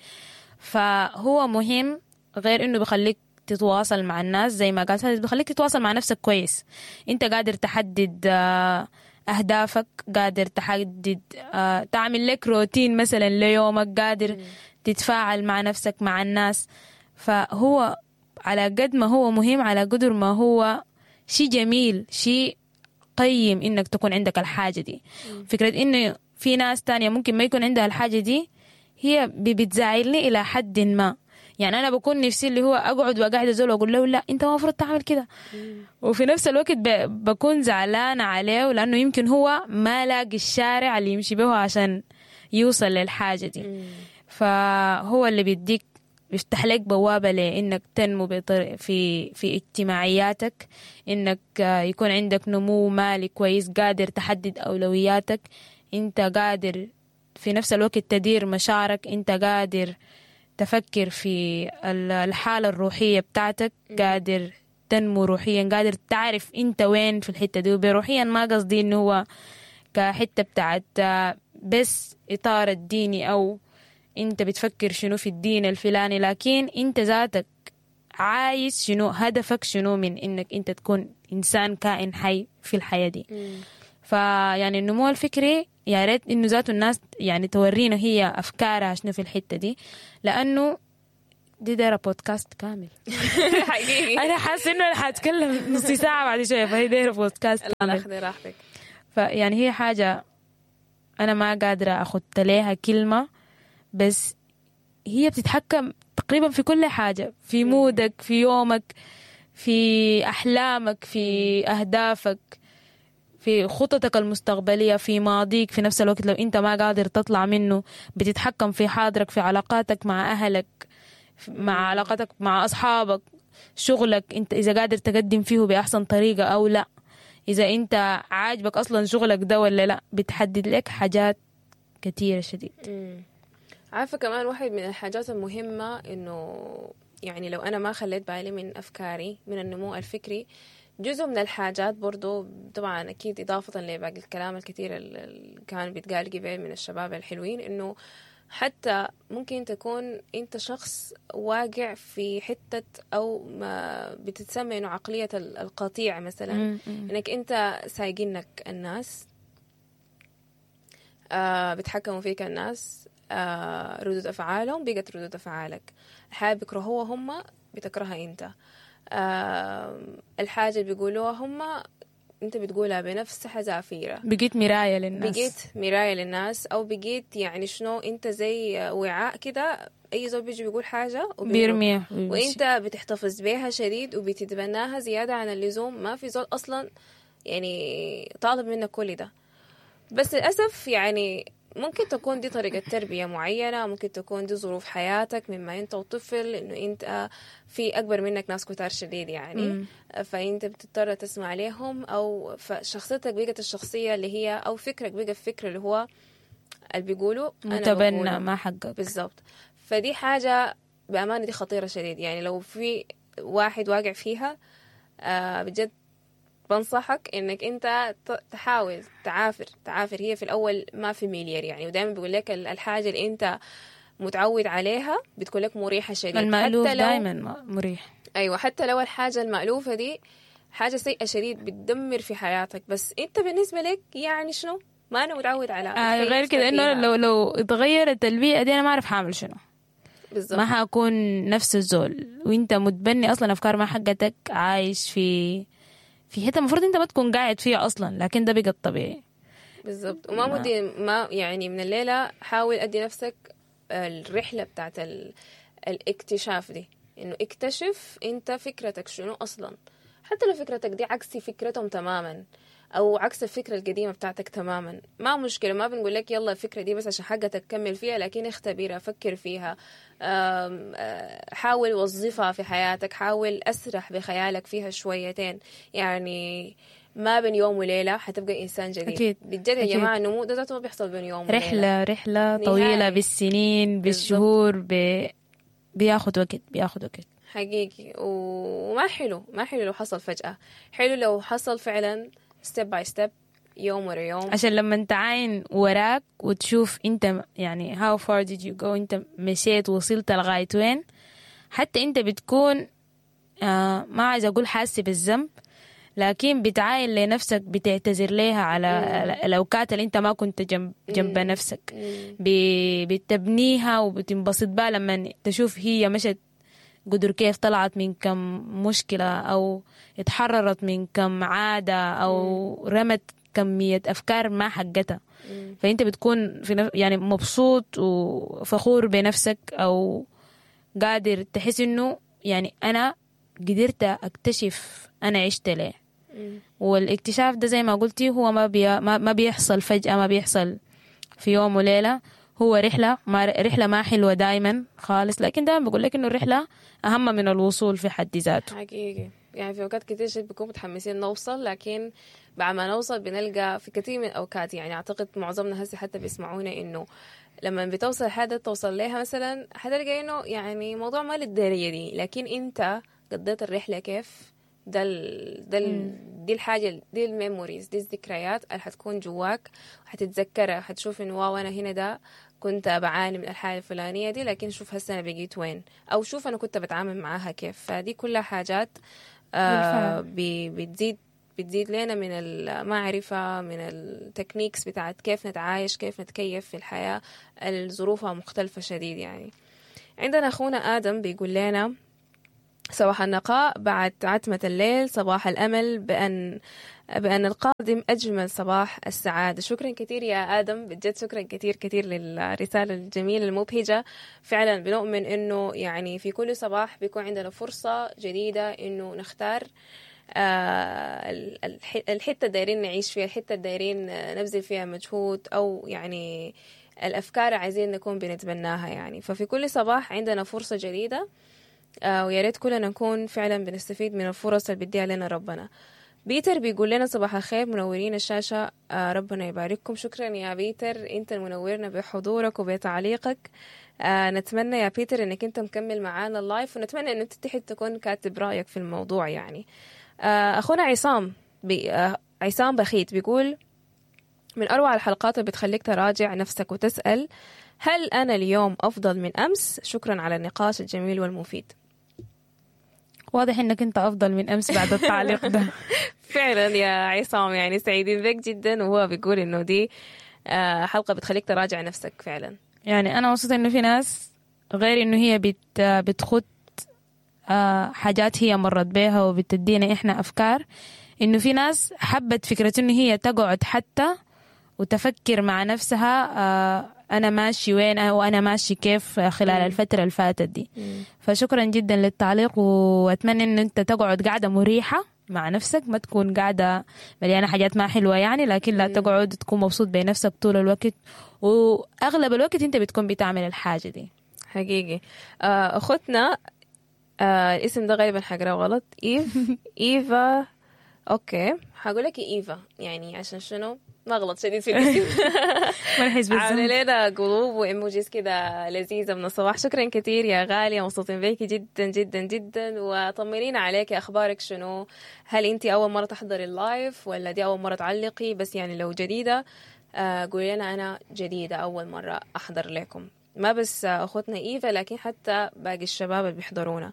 فهو مهم، غير انه بيخليك تتواصل مع الناس زي ما قال سادس، بيخليك تتواصل مع نفسك كويس. انت قادر تحدد آه، اهدافك، قادر تحدد آه، تعمل لك روتين مثلا ليومك، قادر تتفاعل مع نفسك مع الناس. فهو على قد ما هو مهم، على قدر ما هو شيء جميل، شيء قيم انك تكون عندك الحاجة دي. فكرة انه في ناس تانية ممكن ما يكون عندها الحاجة دي، هي ب- بتزعلني الى حد ما. يعني انا بكون نفسي اللي هو اقعد واقعد ازول واقول له لا انت ما المفروض تعمل كده، وفي نفس الوقت ب- بكون زعلانة عليه لانه يمكن هو ما لاقي الشارع اللي يمشي به عشان يوصل للحاجة دي. فهو اللي بيديك، بيفتح لك بوابة لإنك تنمو بطريقة في في اجتماعياتك، إنك آه، يكون عندك نمو مالي كويس، قادر تحدد أولوياتك، أنت قادر في نفس الوقت تدير مشاعرك، أنت قادر تفكر في ال- الحالة الروحية بتاعتك، قادر تنمو روحيا، قادر تعرف أنت وين في الحتة دي. وبروحيا ما قصدي إنه هو كحته بتاعت بس اطار الديني او انت بتفكر شنو في الدين الفلاني، لكن انت ذاتك عايز شنو، هدفك شنو من انك انت تكون انسان كائن حي في الحياة دي. فيعني النمو الفكري يا ريت انه ذاته الناس يعني تورينا هي افكارها شنو في الحتة دي، لانه دي دايرة بودكاست كامل. حقيقي انا حاسه انه انا حاتكلم نص ساعة بعد شوية، فهي دايرة بودكاست كامل. خذي راحتك. فيعني هي حاجة انا ما قادرة اخد ليها كلمة، بس هي بتتحكم تقريبا في كل حاجة، في مودك، في يومك، في احلامك، في اهدافك، في خططك المستقبلية، في ماضيك، في نفس الوقت لو انت ما قادر تطلع منه بتتحكم في حاضرك، في علاقاتك مع اهلك، مع علاقاتك مع اصحابك، شغلك انت اذا قادر تقدم فيه باحسن طريقة او لا، اذا انت عاجبك اصلا شغلك ده ولا لا، بتحدد لك حاجات كثيرة شديد. عارفة كمان واحد من الحاجات المهمة انه يعني لو انا ما خليت بالي من افكاري، من النمو الفكري، جزء من الحاجات برضو طبعا أكيد إضافة لباقي الكلام الكثير اللي كان بيتقال قبل من الشباب الحلوين، إنه حتى ممكن تكون أنت شخص واقع في حتة أو ما بتتسمى إنه عقلية القطيع مثلا، إنك أنت سايقينك الناس، آه بتحكموا فيك الناس، آه ردود أفعالهم بقت ردود أفعالك، الحاجة بيكرهوها هم بتكرهها أنت، آه الحاجة اللي بيقولوها هم انت بتقولها بنفس حذافيرها، بقيت مراية للناس، بقيت مراية للناس، او بقيت يعني شنو انت زي وعاء كده، اي زول بيجي بيقول حاجة بيرميها وانت بتحتفظ بيها شديد وبتتبناها زيادة عن اللزوم. ما في زول اصلا يعني طالب منك كل ده، بس للأسف يعني ممكن تكون دي طريقة تربية معينة، ممكن تكون دي ظروف حياتك مما انت وطفل، انه انت في اكبر منك ناس كتار شديد يعني، مم. فانت بتضطر تسمع لهم، او فشخصيتك بقت الشخصية اللي هي، او فكرك بقى الفكر اللي هو اللي بيقولوا متبنى ما حقك بالضبط. فدي حاجة بأمانة دي خطيرة شديد، يعني لو في واحد واقع فيها آه بجد بنصحك انك انت تحاول تعافر تعافر. هي في الاول ما familiar يعني، ودائما بيقول لك الحاجة اللي انت متعود عليها بتكون لك مريحه شديد، المألوف دائما مريح. ايوه، حتى لو الحاجة المألوفه دي حاجة سيئه شديد بتدمر في حياتك، بس انت بالنسبة لك يعني شنو ما انا متعود على آه غير كده انه لو لو اتغيرت البيئة دي انا ما اعرف حاعمل شنو بالظبط، ما حاكون نفس الزول، وانت متبني اصلا افكار ما حقتك، عايش في في حتة المفروض انت ما تكون قاعد فيها اصلا، لكن ده بقى الطبيعي بالظبط. وما مدي ما يعني من الليلة حاول ادي نفسك الرحلة بتاعت ال... الاكتشاف دي، انه اكتشف انت فكرتك شنو اصلا، حتى لو فكرتك دي عكس فكرتهم تماما او عكس الفكرة القديمة بتاعتك تماما، ما مشكلة، ما بنقول لك يلا الفكرة دي بس عشان حقتك كمل فيها، لكن اختبرها، فكر فيها، حاول وظفها في حياتك، حاول اسرح بخيالك فيها شويتين، يعني ما بين يوم وليلة حتبقى انسان جديد. أكيد. بجد يا جماعة النمو ده ذاته ما بيحصل بين يوم وليلة، رحله رحله طويلة بالسنين بالشهور، ب... بياخد وقت، بياخد وقت حقيقي. وما حلو، ما حلو لو حصل فجأة، حلو لو حصل فعلا step by step، يوم ورا يوم، عشان لما انت عاين وراك وتشوف انت يعني how far did you go، انت مشيت وصلت لغاية وين، حتى انت بتكون آه ما عايز اقول حاسس بالذنب، لكن بتعاين لنفسك، بتعتذر ليها على الاوقات اللي انت ما كنت جنب جنب نفسك، بتبنيها وبتنبسط بها لما تشوف هي مشت قدر كيف، طلعت من كم مشكلة أو اتحررت من كم عادة أو رمت كمية أفكار ما حقتها. فأنت بتكون في نف... يعني مبسوط وفخور بنفسك، أو قادر تحس إنه يعني أنا قدرت أكتشف أنا عشت ليه. والاكتشاف ده زي ما قلتي هو ما, بي... ما بيحصل فجأة، ما بيحصل في يوم وليلة، هو رحلة، ما رحلة ما حلوة دايما خالص، لكن دايما بقول لك إنه الرحلة أهم من الوصول في حد ذاته. حقيقي يعني في أوقات كتير شيء بنكون متحمسين نوصل، لكن بعد ما نوصل بنلقى في كثير من الأوقات، يعني أعتقد معظمنا هسه حتى بيسمعونا إنه لما بتوصل حاجة توصل لها مثلا حتلقى إنه يعني موضوع ما للدرجة دي، لكن أنت قضيت الرحلة كيف، ده ال ده ال دي الحاجة، دي ال memories، دي الذكريات اللي حتكون جواك، حتتذكرها، حتشوف انه wow انا هنا ده كنت بعاني من الحالة الفلانية دي، لكن شوف هسه انا بقيت وين، او شوف انا كنت بتعامل معاها كيف. فدي كلها حاجات آه بي بتزيد بتزيد لنا من المعرفة، من ال techniques بتاعت كيف نتعايش، كيف نتكيف في الحياة الظروفها مختلفة شديد يعني. عندنا أخونا آدم بيقول لنا صباح النقاء بعد عتمة الليل، صباح الأمل بأن بأن القادم أجمل صباح السعادة. شكرا كثير يا آدم، بجد شكرا كثير كثير للرسالة الجميلة المبهجة. فعلا بنؤمن إنه يعني في كل صباح بيكون عندنا فرصة جديدة إنه نختار آه الحتة الدايرين نعيش فيها، الحتة الدايرين نبذل فيها مجهود، أو يعني الأفكار عايزين نكون بنتبناها يعني. ففي كل صباح عندنا فرصة جديدة، آه ويا ريت كلنا نكون فعلا بنستفيد من الفرص اللي بيديها لنا ربنا. بيتر بيقول لنا صباح الخير، منورين الشاشة، آه ربنا يبارككم. شكرا يا بيتر، انت المنورنا بحضورك وبتعليقك. آه نتمنى يا بيتر انك انت مكمل معانا ال live، ونتمنى ان انت تحت تكون كاتب رأيك في الموضوع يعني. آه اخونا عصام بي آه عصام بخيت بيقول من أروع الحلقات اللي بتخليك تراجع نفسك وتسأل هل أنا اليوم أفضل من أمس؟ شكرا على النقاش الجميل والمفيد. واضح انك انت افضل من امس بعد التعليق ده. فعلا يا عصام، يعني سعيدين بك جدا. وهو بيقول انه دي حلقة بتخليك تراجع نفسك فعلا. يعني انا مبسوطة انه في ناس غير انه هي بت بتخط حاجات هي مرت بيها وبتدينا احنا افكار، انه في ناس حبت فكرة انه هي تقعد حتى وتفكر مع نفسها أنا ماشي وين وأنا ماشي كيف خلال مم. الفترة اللي فاتت دي. مم. فشكرا جدا للتعليق، وأتمنى أن أنت تقعد قاعدة مريحة مع نفسك، ما تكون قاعدة مليانة حاجات ما حلوة يعني، لكن لا تقعد تكون مبسوط بنفسك طول الوقت، وأغلب الوقت أنت بتكون بتعمل الحاجة دي حقيقي. أختنا آه الاسم ده غالبا حقراه غلط، إيف إيفا، okay هقول لك إيفا يعني عشان شنو ما غلط شديد في الاسم. ما نحس بالذنب. عامله لنا قلوب و emojis كده لذيذة من الصباح. شكرا كثير يا غالية، مبسوطين بيكي جدا جدا جدا، وطمنينا عليك، اخبارك شنو؟ هل انت اول مرة تحضري ال live ولا دي اول مرة تعلقي؟ بس يعني لو جديدة قولي لنا انا جديدة اول مرة احضر لكم. ما بس اخوتنا ايفا لكن حتى باقي الشباب اللي بيحضرونا.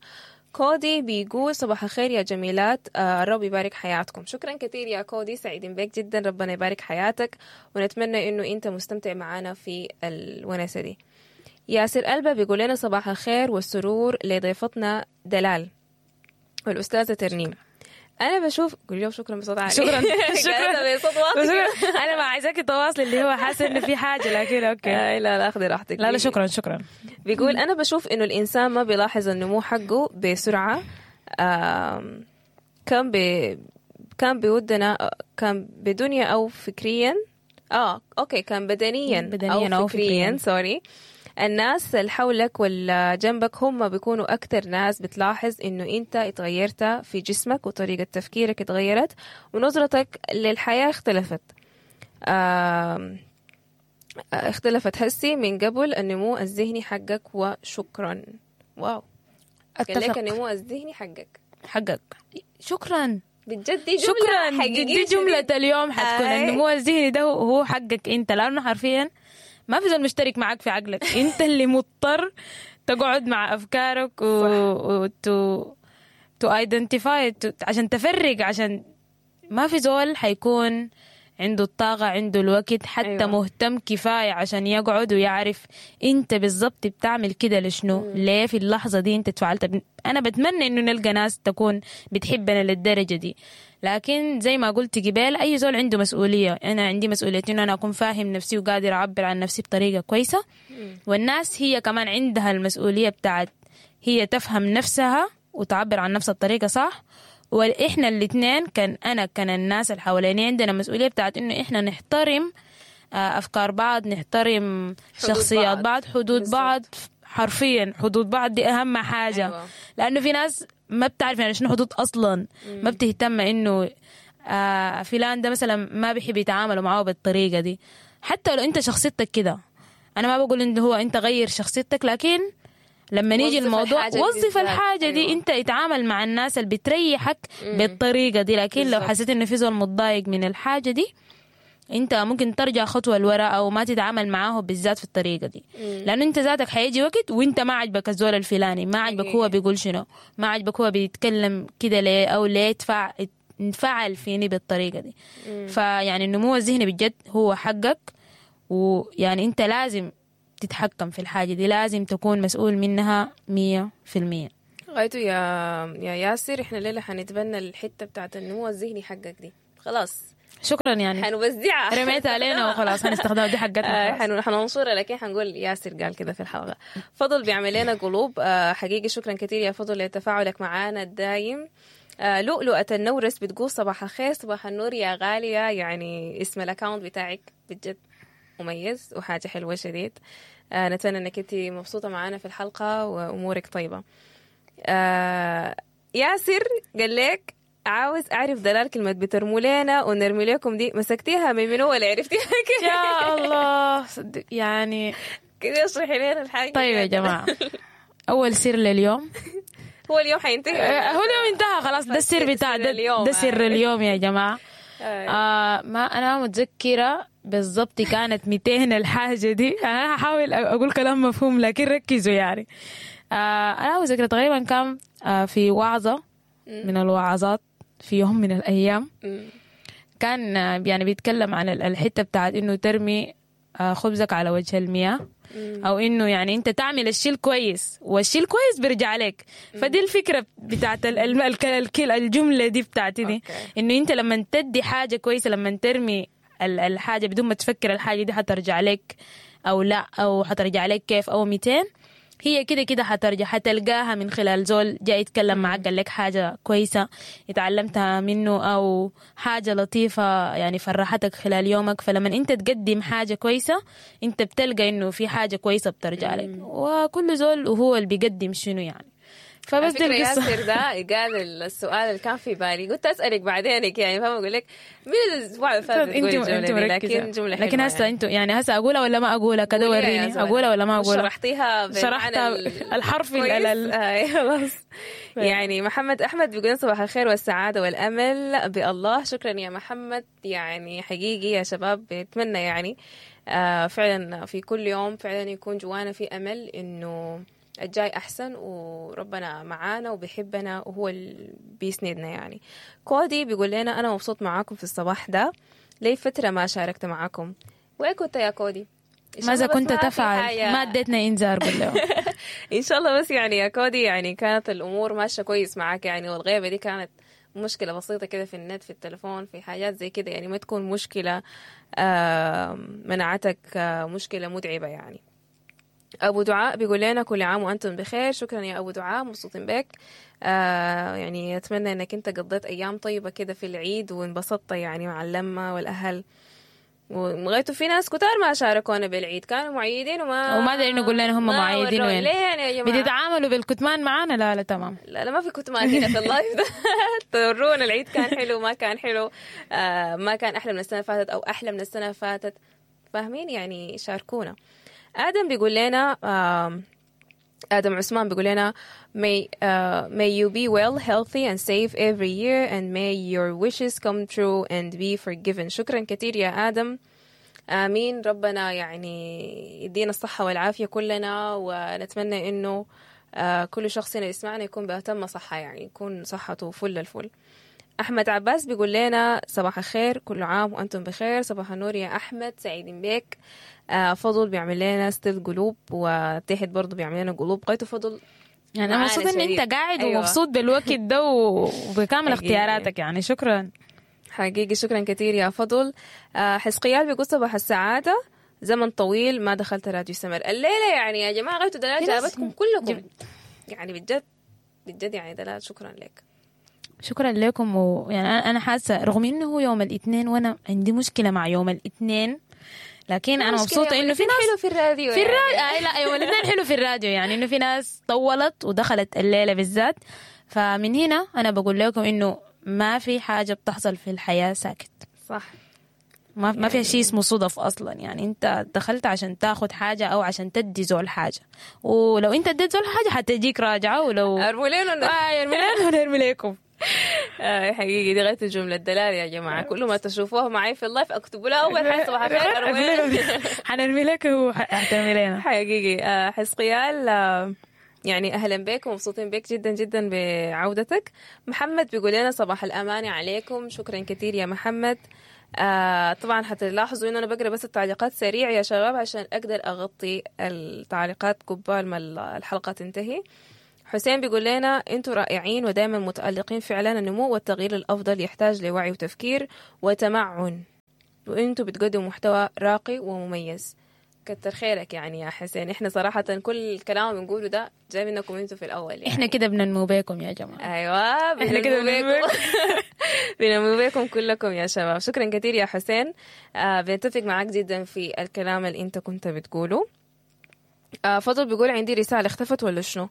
كودي بيقول صباح الخير يا جميلات، آه الرب يبارك حياتكم. شكرا كثير يا كودي، سعيدين بك جدا، ربنا يبارك حياتك، ونتمنى انه انت مستمتع معنا في الونسة دي. ياسر ألبا بيقول لنا صباح الخير والسرور لضيفتنا دلال والأستاذة ترنيم. أنا بشوف قولي له شكرا بصوت عالي. شكرا شكرا بصوت واطي. أنا ما عايزاك تواصلي اللي هو حاسة إنه في حاجة، لكن okay. لا لا أخذي راحتك. لا لا شكرا شكرا. بيقول أنا بشوف إنه الإنسان ما بيلاحظ النمو حقه بسرعة. كان بي كان بودنا كان بدنيا أو فكريا آه okay كان بدنيا, بدنيا أو فكريا, sorry. الناس اللي حولك ولا جنبك هم بيكونوا أكتر ناس بتلاحظ إنه أنت اتغيرت في جسمك وطريقة تفكيرك اتغيرت ونظرتك للحياة اختلفت. آه اختلفت هسي من قبل النمو الذهني حقك. وشكرا. wow، أتفق. قال لك النمو الذهني حقك حقك شكرا بجد، دي جملة شكرا حقيقية. دي جملة اليوم حتكون آه. النمو الذهني ده هو حقك انت، لأنه حرفيا ما في زول مشترك معاك في عقلك، انت اللي مضطر تقعد مع افكارك و و to identify عشان تفرق، عشان ما في زول حيكون عنده الطاقة، عنده الوقت، حتى أيوة. مهتم كفاية عشان يقعد ويعرف انت بالضبط بتعمل كده لشنو، ليه في اللحظة دي انت تفعلت. انا بتمنى انه نلقى ناس تكون بتحبنا للدرجة دي، لكن زي ما قلت قبل اي زول عنده مسؤولية. انا عندي مسؤولية انه انا اكون فاهم نفسي وقادر اعبر عن نفسي بطريقة كويسة، والناس هي كمان عندها المسؤولية بتاعت هي تفهم نفسها وتعبر عن نفسها بطريقة صح. وإحنا الاثنين كان أنا كان الناس اللي حواليني عندنا مسؤولية بتاعت إنه إحنا نحترم أفكار بعض، نحترم شخصيات بعض, بعض، حدود بعض، حرفيا حدود بعض دي أهم حاجة. أيوة. لأنه في ناس ما بتعرف يعني شنو حدود أصلا، مم. ما بتهتم إنه آه فلان ده مثلا ما بيحب يتعاملوا معاه بالطريقة دي، حتى لو أنت شخصيتك كده. أنا ما بقول إنه هو أنت غير شخصيتك، لكن لما يجي وظف الموضوع الحاجة دي وظف بالذات. الحاجة دي. أيوة. انت اتعامل مع الناس اللي بتريحك بالطريقة دي، لكن لو بالظبط. حسيت انه في زول متضايق من الحاجة دي، انت ممكن ترجع خطوة لورا او ما تتعامل معاه بالذات في الطريقة دي، لانه انت ذاتك حيجي وقت وانت ما عجبك الزول الفلاني، ما عجبك هو بيقول شنو، ما عجبك هو بيتكلم كده ليه، او ليه تفع انفعل فيني بالطريقة دي. فيعني النمو الذهني بجد هو حقك، ويعني انت لازم تتحكم في الحاجة دي، لازم تكون مسؤول منها مية في المية. غايته يا يا ياسر، احنا الليلة حنتبنى الحتة بتاعت النمو الذهني حقك دي، خلاص. شكرا يعني. حنوزعها. رميتها علينا وخلاص، هنستخدمها، دي حقتنا. آه، خلاص. حن- حننشرها، لكن حنقول ياسر قال كده في الحلقة. فضل بيعمل لنا قلوب، آه، حقيقي شكرا كثير يا فضل لتفاعلك معانا الدايم. آه، لؤلؤة النورس بتقول صباح الخير. صباح النور يا غالية، يعني اسم ال account بتاعك بجد مميز وحاجة حلوة شديد. آه، نتمنى انك انت مبسوطة معانا في الحلقة وامورك طيبة. آه، ياسر قال لك عاوز اعرف دلال كلمة بترموا لنا ونرمي لكم دي مسكتيها من منو ولا عرفتيها كيف؟ يا الله، صدق يعني. كده اشرحي لنا الحاجة. طيب يا جماعة، أول سر لليوم. هو اليوم حينتهي. آه، هو اليوم انتهى خلاص، ده السر بتاع سر ده, اليوم. ده سر اليوم يا جماعة. آه. آه ما أنا متذكرة بالضبط كانت ميتين الحاجة دي. أنا هحاول أقول كلام مفهوم لكن ركزوا يعني. آه أنا متذكرة تقريبا كان آه في وعظة من الوعظات في يوم من الأيام، مم. كان آه، يعني بيتكلم عن ال- الحتة بتاعت إنه ترمي آه، خبزك على وجه المياه، او انه يعني انت تعمل الشيء الكويس والشيء الكويس بيرجع لك. فدي الفكرة بتاعت ال- ال- الك- الك- الجملة دي بتاعتي دي، okay. انه انت لما تدي حاجة كويسه، لما ترمي ال- الحاجة بدون ما تفكر الحاجة دي حترجع لك او لا، او حترجع لك كيف او ميتين، هي كده كده حترجع، حتلقاها من خلال زول جاي يتكلم معك قال لك حاجة كويسة اتعلمتها منه، أو حاجة لطيفة يعني فرحتك خلال يومك. فلما أنت تقدم حاجة كويسة، أنت بتلقى إنه في حاجة كويسة بترجع لك، وكل زول وهو اللي بيقدم شنو يعني. فبس دي على فكرة القصة. ياسر ده قال السؤال اللي كان في بالي، قلت اسالك بعدينك يعني، فاهمه؟ اقول لك من الاسبوع اللي فات انت بتقولي الجملة انت دي، مركزة. لكن جملة حلوة لكن هسه يعني. انتوا يعني هسه اقولها ولا ما اقولها كده؟ قوليها يا وريني زول. اقولها ولا ما اقولها؟ شرحتيها بالمعنى شرحتها ال- الحرفي كويس. ال- ال- آه، خلاص. يعني محمد احمد بيقول صباح الخير والسعادة والامل بالله. شكرا يا محمد، يعني حقيقي يا شباب بتمنى يعني آه فعلا في كل يوم فعلا يكون جوانا في امل انه الجاي احسن، وربنا معانا وبيحبنا وهو اللي بيسندنا يعني. كودي بيقول لنا انا مبسوط معاكم في الصباح ده، لي فترة ما شاركت معاكم. وين كنت يا كودي؟ إن شاء ماذا الله بس كنت ما في تفعل؟ حاجة- ما اديتنا انذار بالله. ان شاء الله بس يعني يا كودي يعني كانت الامور ماشية كويس معاك يعني، والغيبة دي كانت مشكلة بسيطة كده في النت، في التليفون، في حاجات زي كده يعني، ما تكون مشكلة آه، منعتك، آه، مشكلة متعبة يعني. ابو دعاء بيقول لنا كل عام وانتم بخير. شكرا يا ابو دعاء، مبسوطين بك. آه يعني اتمنى انك انت قضيت ايام طيبة كده في العيد وانبسطت يعني مع اللمة والاهل. ولغايته في ناس كتار ما شاركونا بالعيد، كانوا معيدين وما وما دارين نقول لنا هم ما معيدين ورونا. وين. ليه يعني يا جماعة؟ بتتعاملوا بالكتمان معانا؟ لا لا تمام. لا لا ما في كتمان هنا في ال live ده. تورونا العيد كان حلو ما كان حلو، آه ما كان احلى من السنة اللي فاتت او احلى من السنة اللي فاتت، فاهمين يعني؟ شاركونا. ادم بيقول لنا آم، آدم عثمان بيقول لنا may, uh, may you be well, healthy and safe every year and may your wishes come true and be forgiven. شكرا كثير يا آدم، آمين. ربنا يعني يدينا الصحة والعافية كلنا، ونتمنى إنه آه، كل شخص هنا يسمعنا يكون بأتم صحة، يعني يكون صحته فل الفل. أحمد عباس بيقول لنا صباح الخير، كل عام وأنتم بخير. صباح النور يا أحمد، سعيدين بك. آه فضل بيعمل لنا still قلوب، وتحت برضه بيعمل لنا قلوب. غايته فضل يعني انا معانا مبسوطة ان شديد. انت قاعد أيوة. ومبسوط بالوقت ده وبكامل حقيقي. اختياراتك يعني، شكرا. حقيقي شكرا كثير يا فضل. آه حسقيال بيقول صباح السعادة، زمن طويل ما دخلت راديو سمر الليلة. يعني يا جماعة غايته دلال في ناس جابتكم كلكم جب- يعني بجد بجد يعني دلال شكرا لك. شكرا لكم. ويعني انا أنا حاسه رغم انه هو يوم الاثنين وانا عندي مشكلة مع يوم الاثنين، لكن انا مشكلة مبسوطة يوم انه في الاثنين ناس حلو في الراديو في يعني. الراديو. آه لا يوم الاثنين حلو في الراديو، يعني انه في ناس طولت ودخلت الليلة بالذات. فمن هنا انا بقول لكم انه ما في حاجة بتحصل في الحياة ساكت. صح. ما ما فيها شيء اسمه صدف اصلا. يعني انت دخلت عشان تاخد حاجة او عشان تدي زول حاجة، ولو انت اديت زول حاجة حتجيك راجعه. ولو ارموا لنا آه ارموا لنا ونرمي لكم. آه حقيقي دي غاية الجملة الدلال يا جماعة، كل ما تشوفوها معي في ال live اكتبوا لها اول حاجة صباح الخير حنرمي لك وحترمي لنا. حقيقي آه حسقيال آه يعني اهلا بك ومبسوطين بك جدا جدا بعودتك. محمد بيقول لنا صباح الامانة عليكم، شكرا كثير يا محمد. آه طبعا حتلاحظوا انه انا بقرا بس التعليقات سريع يا شباب عشان اقدر اغطي التعليقات قبال ما الحلقة تنتهي. حسين بيقول لنا انتوا رائعين ودائما متألقين، فعلا النمو والتغيير الافضل يحتاج لوعي وتفكير وتمعن، وانتوا بتقدموا محتوى راقي ومميز. كتر خيرك يعني يا حسين، احنا صراحة كل الكلام اللي بنقوله ده جاي منكم انتوا في الاول يعني. احنا كده بننمو بيكم يا جماعة. ايوه احنا كده بننمو بيكم بننمو بيكم كلكم يا شباب. شكرا كثير يا حسين، آه بنتفق معاك جدا في الكلام اللي انت كنت بتقوله. آه فضل بيقول عندي رسالة اختفت ولا شنو؟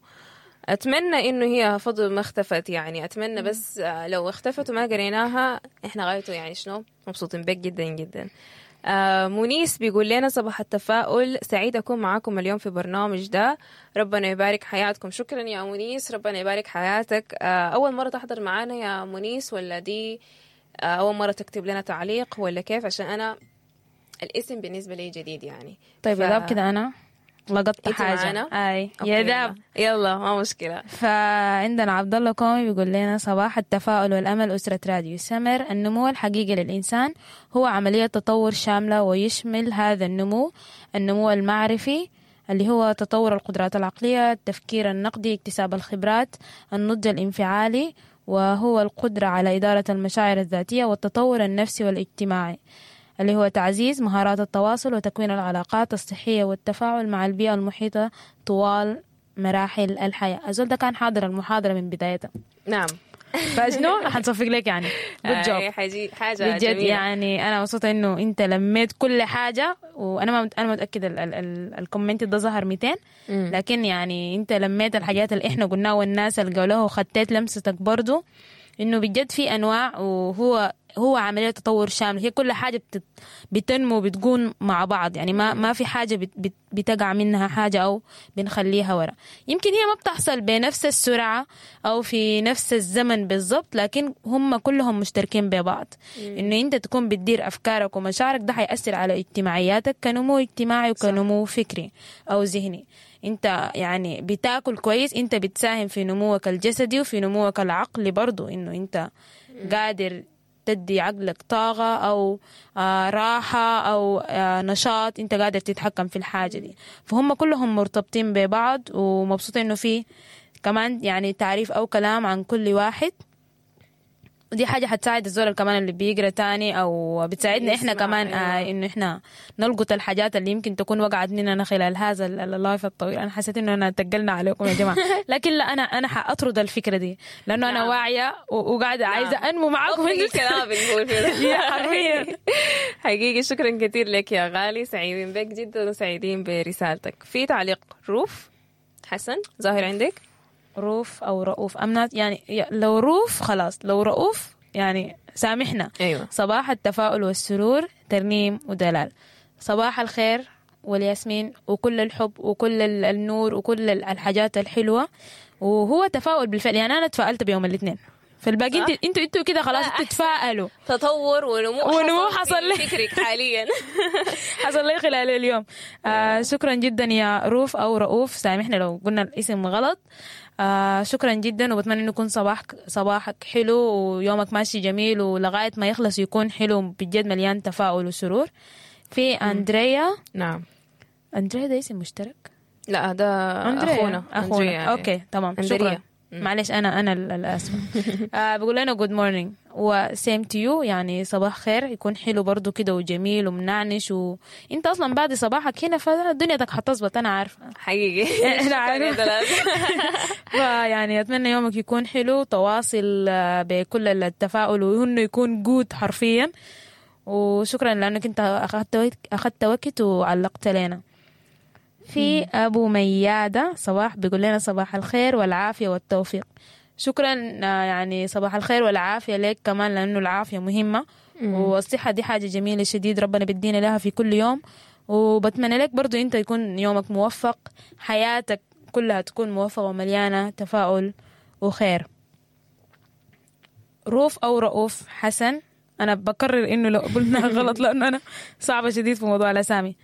اتمنى انه هي فضل ما اختفت يعني، اتمنى بس لو اختفت وما قريناها احنا غايته يعني شنو مبسوطين بك جدا جدا. آه منيس بيقول لنا صباح التفاؤل، سعيد اكون معاكم اليوم في برنامج ده، ربنا يبارك حياتكم. شكرا يا منيس، ربنا يبارك حياتك. آه اول مرة تحضر معانا يا منيس ولا دي آه اول مرة تكتب لنا تعليق ولا كيف؟ عشان انا الاسم بالنسبة لي جديد يعني. طيب يا ف... كده انا لقطت حاجة. اي يا داب يلا ما مشكلة. فعندنا عبد الله كومي بيقول لنا صباح التفاؤل والأمل، أسرة راديو سمر. النمو الحقيقي للإنسان هو عملية تطور شاملة، ويشمل هذا النمو النمو المعرفي اللي هو تطور القدرات العقلية، التفكير النقدي، اكتساب الخبرات، النضج الانفعالي وهو القدرة على إدارة المشاعر الذاتية، والتطور النفسي والاجتماعي اللي هو تعزيز مهارات التواصل وتكوين العلاقات الصحية والتفاعل مع البيئة المحيطة طوال مراحل الحياة. أزول ده كان حاضر المحاضرة من بدايتها. نعم. فشنو حنصفق لك يعني. good job. حاجة بجد يعني أنا مبسوطة إنه أنت لميت كل حاجة، وأنا ما أنا متأكدة ال ال ال comment ده ظهر مئتين، لكن يعني أنت لميت الحاجات اللي إحنا قلناها والناس اللي قالوها، وخطيت لمستك برضو إنه بجد في أنواع، وهو هو عملية تطور شامل، هي كل حاجة بتت بتنمو بتكون مع بعض يعني، ما ما في حاجة بت بت بتقع منها حاجة أو بنخليها ورا. يمكن هي ما بتحصل بنفس السرعة أو في نفس الزمن بالضبط، لكن هم كلهم مشتركين ببعض. إنه أنت تكون بتدير أفكارك ومشاعرك ده حيأثر على اجتماعياتك كنمو اجتماعي وكنمو فكري أو ذهني. انت يعني بتاكل كويس، انت بتساهم في نموك الجسدي وفي نموك العقلي برضو، انه انت قادر تدي عقلك طاقة أو آه راحة أو آه نشاط، أنت قادر تتحكم في الحاجة دي. فهم كلهم مرتبطين ببعض، ومبسوطة إنه في كمان يعني تعريف أو كلام عن كل واحد، ودي حاجة حتساعد الزول كمان اللي بيقرأ تاني، أو بتساعدنا إحنا كمان آه إنه إحنا نلقط الحاجات اللي يمكن تكون وقعت مننا خلال هذا ال live الطويل. أنا حسيت إنه أنا تقلنا عليكم يا جماعة، لكن لا أنا أنا حأطرد الفكرة دي لأنه أنا واعية وقاعدة عايزة أنمو معاكم. الكلام بنقول فيه حرفيا. حقيقي شكرا كثير لك يا غالي، سعيدين بك جدا وسعيدين برسالتك. في تعليق روف حسن ظاهر عندك؟ روف أو رؤوف أمنات يعني، لو روف خلاص، لو رؤوف يعني سامحنا. أيوة. صباح التفاؤل والسرور، ترنيم ودلال. صباح الخير والياسمين وكل الحب وكل النور وكل الحاجات الحلوة، وهو تفاؤل بالفعل يعني. أنا تفائلت بيوم الاثنين، فالباقي انتوا انتوا انتوا كده خلاص تتفائلوا. تطور ونمو ونمو حصل لي فكرك حاليا حصل لي خلال اليوم. آه شكرا جدا يا روف او رؤوف، سامحنا لو قلنا الاسم غلط. آه شكرا جدا، وبتمنى انه يكون صباحك صباحك حلو ويومك ماشي جميل، ولغاية ما يخلص يكون حلو بجد مليان تفاؤل وسرور. في اندريا. نعم اندريا ده اسم مشترك؟ لا ده اخونا. اخونا أندريا. okay تمام شكرا. معلش انا انا الاسفه. آه بقول لنا good morning و same to you، يعني صباح خير، يكون حلو برضو كده وجميل ومنعنش، وانت اصلا بعد صباحك هنا فدنيتك حتظبط، انا عارفه حقيقي. انا عارفه. فيعني اتمنى يومك يكون حلو، تواصل بكل التفاؤل وانه يكون good حرفيا. وشكرا لانك انت اخذت اخذت وقت وعلقت لنا. في أبو ميادة صباح بيقول لنا صباح الخير والعافية والتوفيق. شكرا يعني صباح الخير والعافية لك كمان، لأنه العافية مهمة. والصحة دي حاجة جميلة شديد، ربنا بيدينا لها في كل يوم. وبتمنى لك برضو انت يكون يومك موفق، حياتك كلها تكون موفقة ومليانة تفاؤل وخير. روف أو رؤوف حسن، أنا بكرر إنه لو قلنا غلط لأنه أنا صعبة شديد في موضوع الأسامي.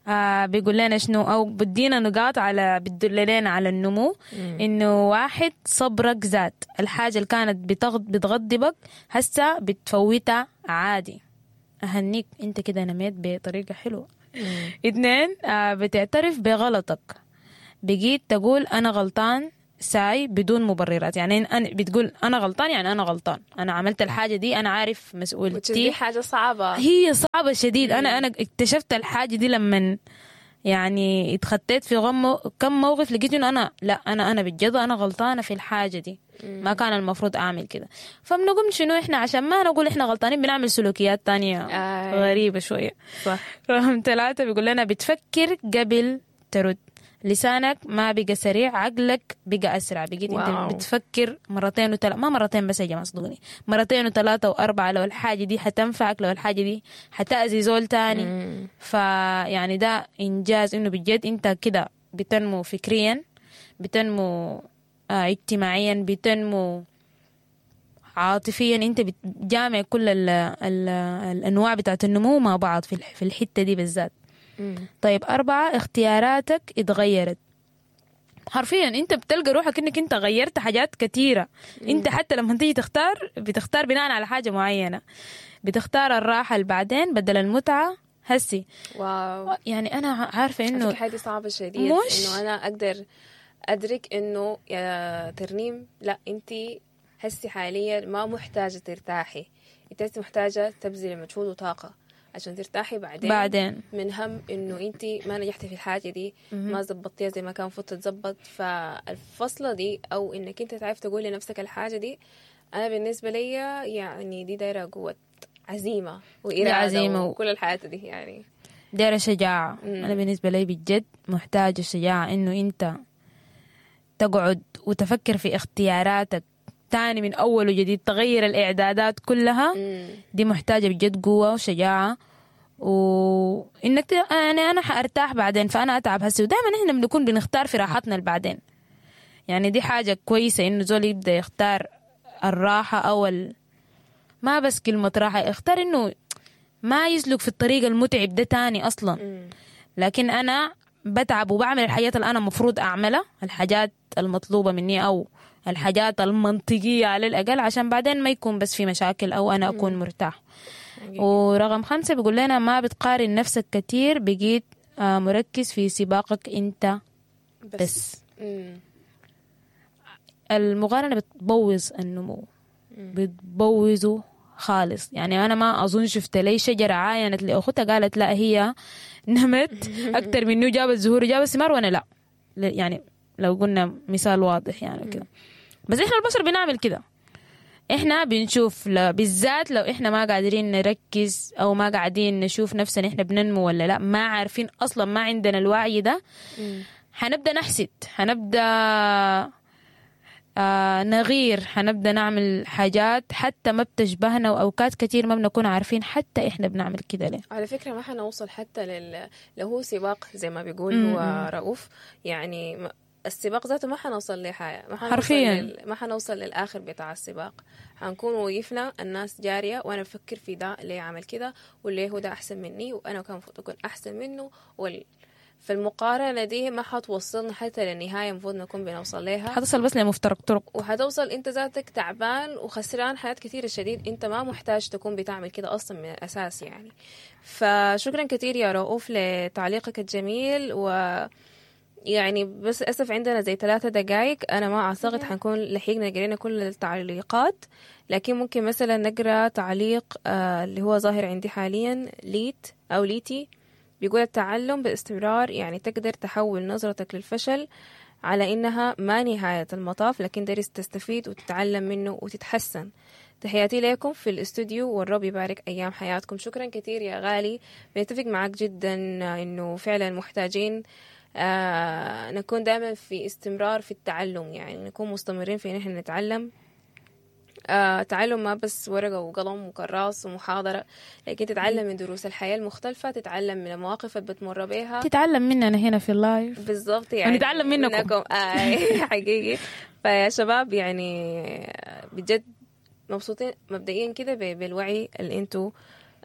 آه بيقول لنا شنو أو بدينا نقاط على بتدل لنا على النمو. إنه واحد، صبرك زاد، الحاجة اللي كانت بتغض بتغضبك هسه بتفوتها عادي، أهنيك أنت كده نميت بطريقة حلوة. اثنين، آه بتعترف بغلطك، بقيت تقول أنا غلطان ساي بدون مبررات. يعني أنا بتقول أنا غلطان، يعني أنا غلطان، أنا عملت الحاجة دي، أنا عارف مسؤوليتي. دي حاجة صعبة، هي صعبة شديد. أنا أنا اكتشفت الحاجة دي لما يعني اتخطيت في غم كم موقف، لقيت إنه أنا لا أنا أنا بجد أنا غلطانة في الحاجة دي، ما كان المفروض أعمل كده. فبنقوم شنو إحنا عشان ما نقول إحنا غلطانين بنعمل سلوكيات تانية آه. غريبة شوية. صح. رقم ثلاثة بيقول لنا بتفكر قبل ترد، لسانك ما بقى سريع، عقلك بقى أسرع. بقيت أنت بتفكر مرتين وثلاثة، ما مرتين بس يا جماعة صدقوني، مرتين وثلاثة وأربعة، لو الحاجة دي حتنفعك، لو الحاجة دي حتأذي زول تاني. فيعني ده إنجاز، إنه بجد أنت كده بتنمو فكريا، بتنمو آه اجتماعيا، بتنمو عاطفيا. أنت بتجامع كل ال ال الأنواع بتاعت النمو مع بعض في الحتة دي بالذات. طيب أربعة، اختياراتك اتغيرت. حرفيا انت بتلقى روحك انك انت غيرت حاجات كثيرة. انت حتى لما تيجي تختار بتختار بناء على حاجة معينة، بتختار الراحة اللي بعدين بدل المتعة هسي. واو، يعني انا عارفة انه حاجة صعبة شديد، انه انا اقدر ادرك انه يا ترنيم لا انت هسي حاليا ما محتاجة ترتاحي، انت محتاجة تبذلي مجهود وطاقة عشان ترتاحي بعدين بعدين من هم انه انت ما نجحتي في الحاجة دي، ما زبطتيها زي ما كان المفروض تتزبط. فالفصله دي او انك انت تعرف تقول لنفسك الحاجة دي، انا بالنسبة لي يعني دي دايرة قوة عزيمة واراده عزيمة وكل الحياة دي، يعني دايرة شجاعة. مم. انا بالنسبة لي بجد محتاجه شجاعة انه انت تقعد وتفكر في اختياراتك تاني من أول وجديد، تغير الإعدادات كلها. مم. دي محتاجة بجد قوة وشجاعة، وإنك ت... يعني أنا حأرتاح بعدين فأنا أتعب هسي. ودائما إحنا بنكون بنختار في راحتنا بعدين، يعني دي حاجة كويسة إنه زول يبدأ يختار الراحة أو ال... ما بس كلمة راحة، يختار إنه ما يسلك في الطريق المتعب ده تاني أصلا. مم. لكن أنا بتعب وبعمل الحاجات اللي أنا مفروض أعملها، الحاجات المطلوبة مني أو الحاجات المنطقية على الأقل، عشان بعدين ما يكون بس في مشاكل أو أنا أكون مرتاح. ورقم خمسة بيقول لنا ما بتقارن نفسك كتير، بقيت مركز في سباقك أنت بس, بس. المقارنة بتبوظ النمو، بتبوظه خالص. يعني أنا ما أظن شفت لي شجرة عاينت لأختها قالت لا هي نمت أكتر منه، جابت زهور وجابت ثمار وأنا لا. يعني لو قلنا مثال واضح يعني كده. بس إحنا البشر بنعمل كده، إحنا بنشوف بالذات لو إحنا ما قادرين نركز أو ما قاعدين نشوف نفسنا إحنا بننمو ولا لا، ما عارفين أصلا، ما عندنا الوعي ده، حنبدأ نحسد، حنبدأ آه نغير، حنبدأ نعمل حاجات حتى ما بتشبهنا، وأوقات كتير ما بنكون عارفين حتى إحنا بنعمل كده ليه. على فكرة ما حنوصل حتى لل... لو هو سباق زي ما بيقول هو رؤوف، يعني السباق ذاته ما حنوصل لحاجة، ما حنوصل حرفيا لل... ما حنوصل للآخر بتاع السباق. حنكون وقفنا الناس جارية وأنا بفكر في ده ليه عمل كده وليه هو ده أحسن مني وأنا كان المفروض أكون أحسن منه وال... فالمقارنة دي ما حتوصلنا حتى للنهاية المفروض نكون بنوصل لها، حتصل بس لمفترق طرق، وحتوصل انت ذاتك تعبان وخسران حياة كثيرة شديد. انت ما محتاج تكون بتعمل كده اصلا من الاساس يعني. فشكرا كثير يا رؤوف لتعليقك الجميل. و يعني بس للأسف عندنا زي ثلاثة دقايق، أنا ما أعتقد حنكون لحقنا قرينا كل التعليقات، لكن ممكن مثلا نقرأ تعليق آه اللي هو ظاهر عندي حاليا، ليت أو ليتي بيقول التعلم باستمرار يعني تقدر تحول نظرتك للفشل على إنها ما نهاية المطاف، لكن درس تستفيد وتتعلم منه وتتحسن. تحياتي لكم في الاستوديو والرب يبارك أيام حياتكم. شكرا كثير يا غالي، بنتفق معك جدا إنه فعلا محتاجين آه نكون دائما في استمرار في التعلم، يعني نكون مستمرين في إن احنا نتعلم آه تعلم ما بس ورقة وقلم وكراس ومحاضرة، لكن تتعلم من دروس الحياة المختلفة، تتعلم من المواقف اللي بتمر بيها. تتعلم مننا هنا في ال live. بالضبط، يعني ونتعلم منكم. آه حقيقي. فيا شباب يعني بجد مبسوطين مبدئيا كده ب- بالوعي اللي انتوا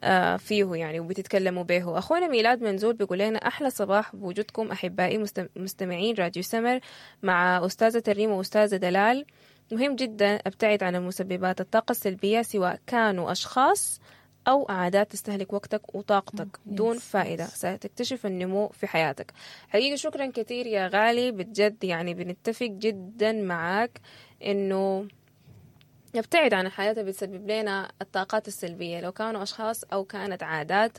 آه، فيه يعني وبتتكلموا به. اخونا ميلاد منزول بيقول لنا احلى صباح بوجودكم احبائي مستم- مستمعين راديو سمر مع استاذه ترنيم واستاذه دلال. مهم جدا ابتعد عن المسببات الطاقة السلبية، سواء كانوا اشخاص او عادات تستهلك وقتك وطاقتك دون فائدة، ستكتشف النمو في حياتك. حقيقة شكرا كثير يا غالي، بجد يعني بنتفق جدا معاك انه نبتعد عن الحياة اللي بتسبب لنا الطاقات السلبية، لو كانوا أشخاص أو كانت عادات.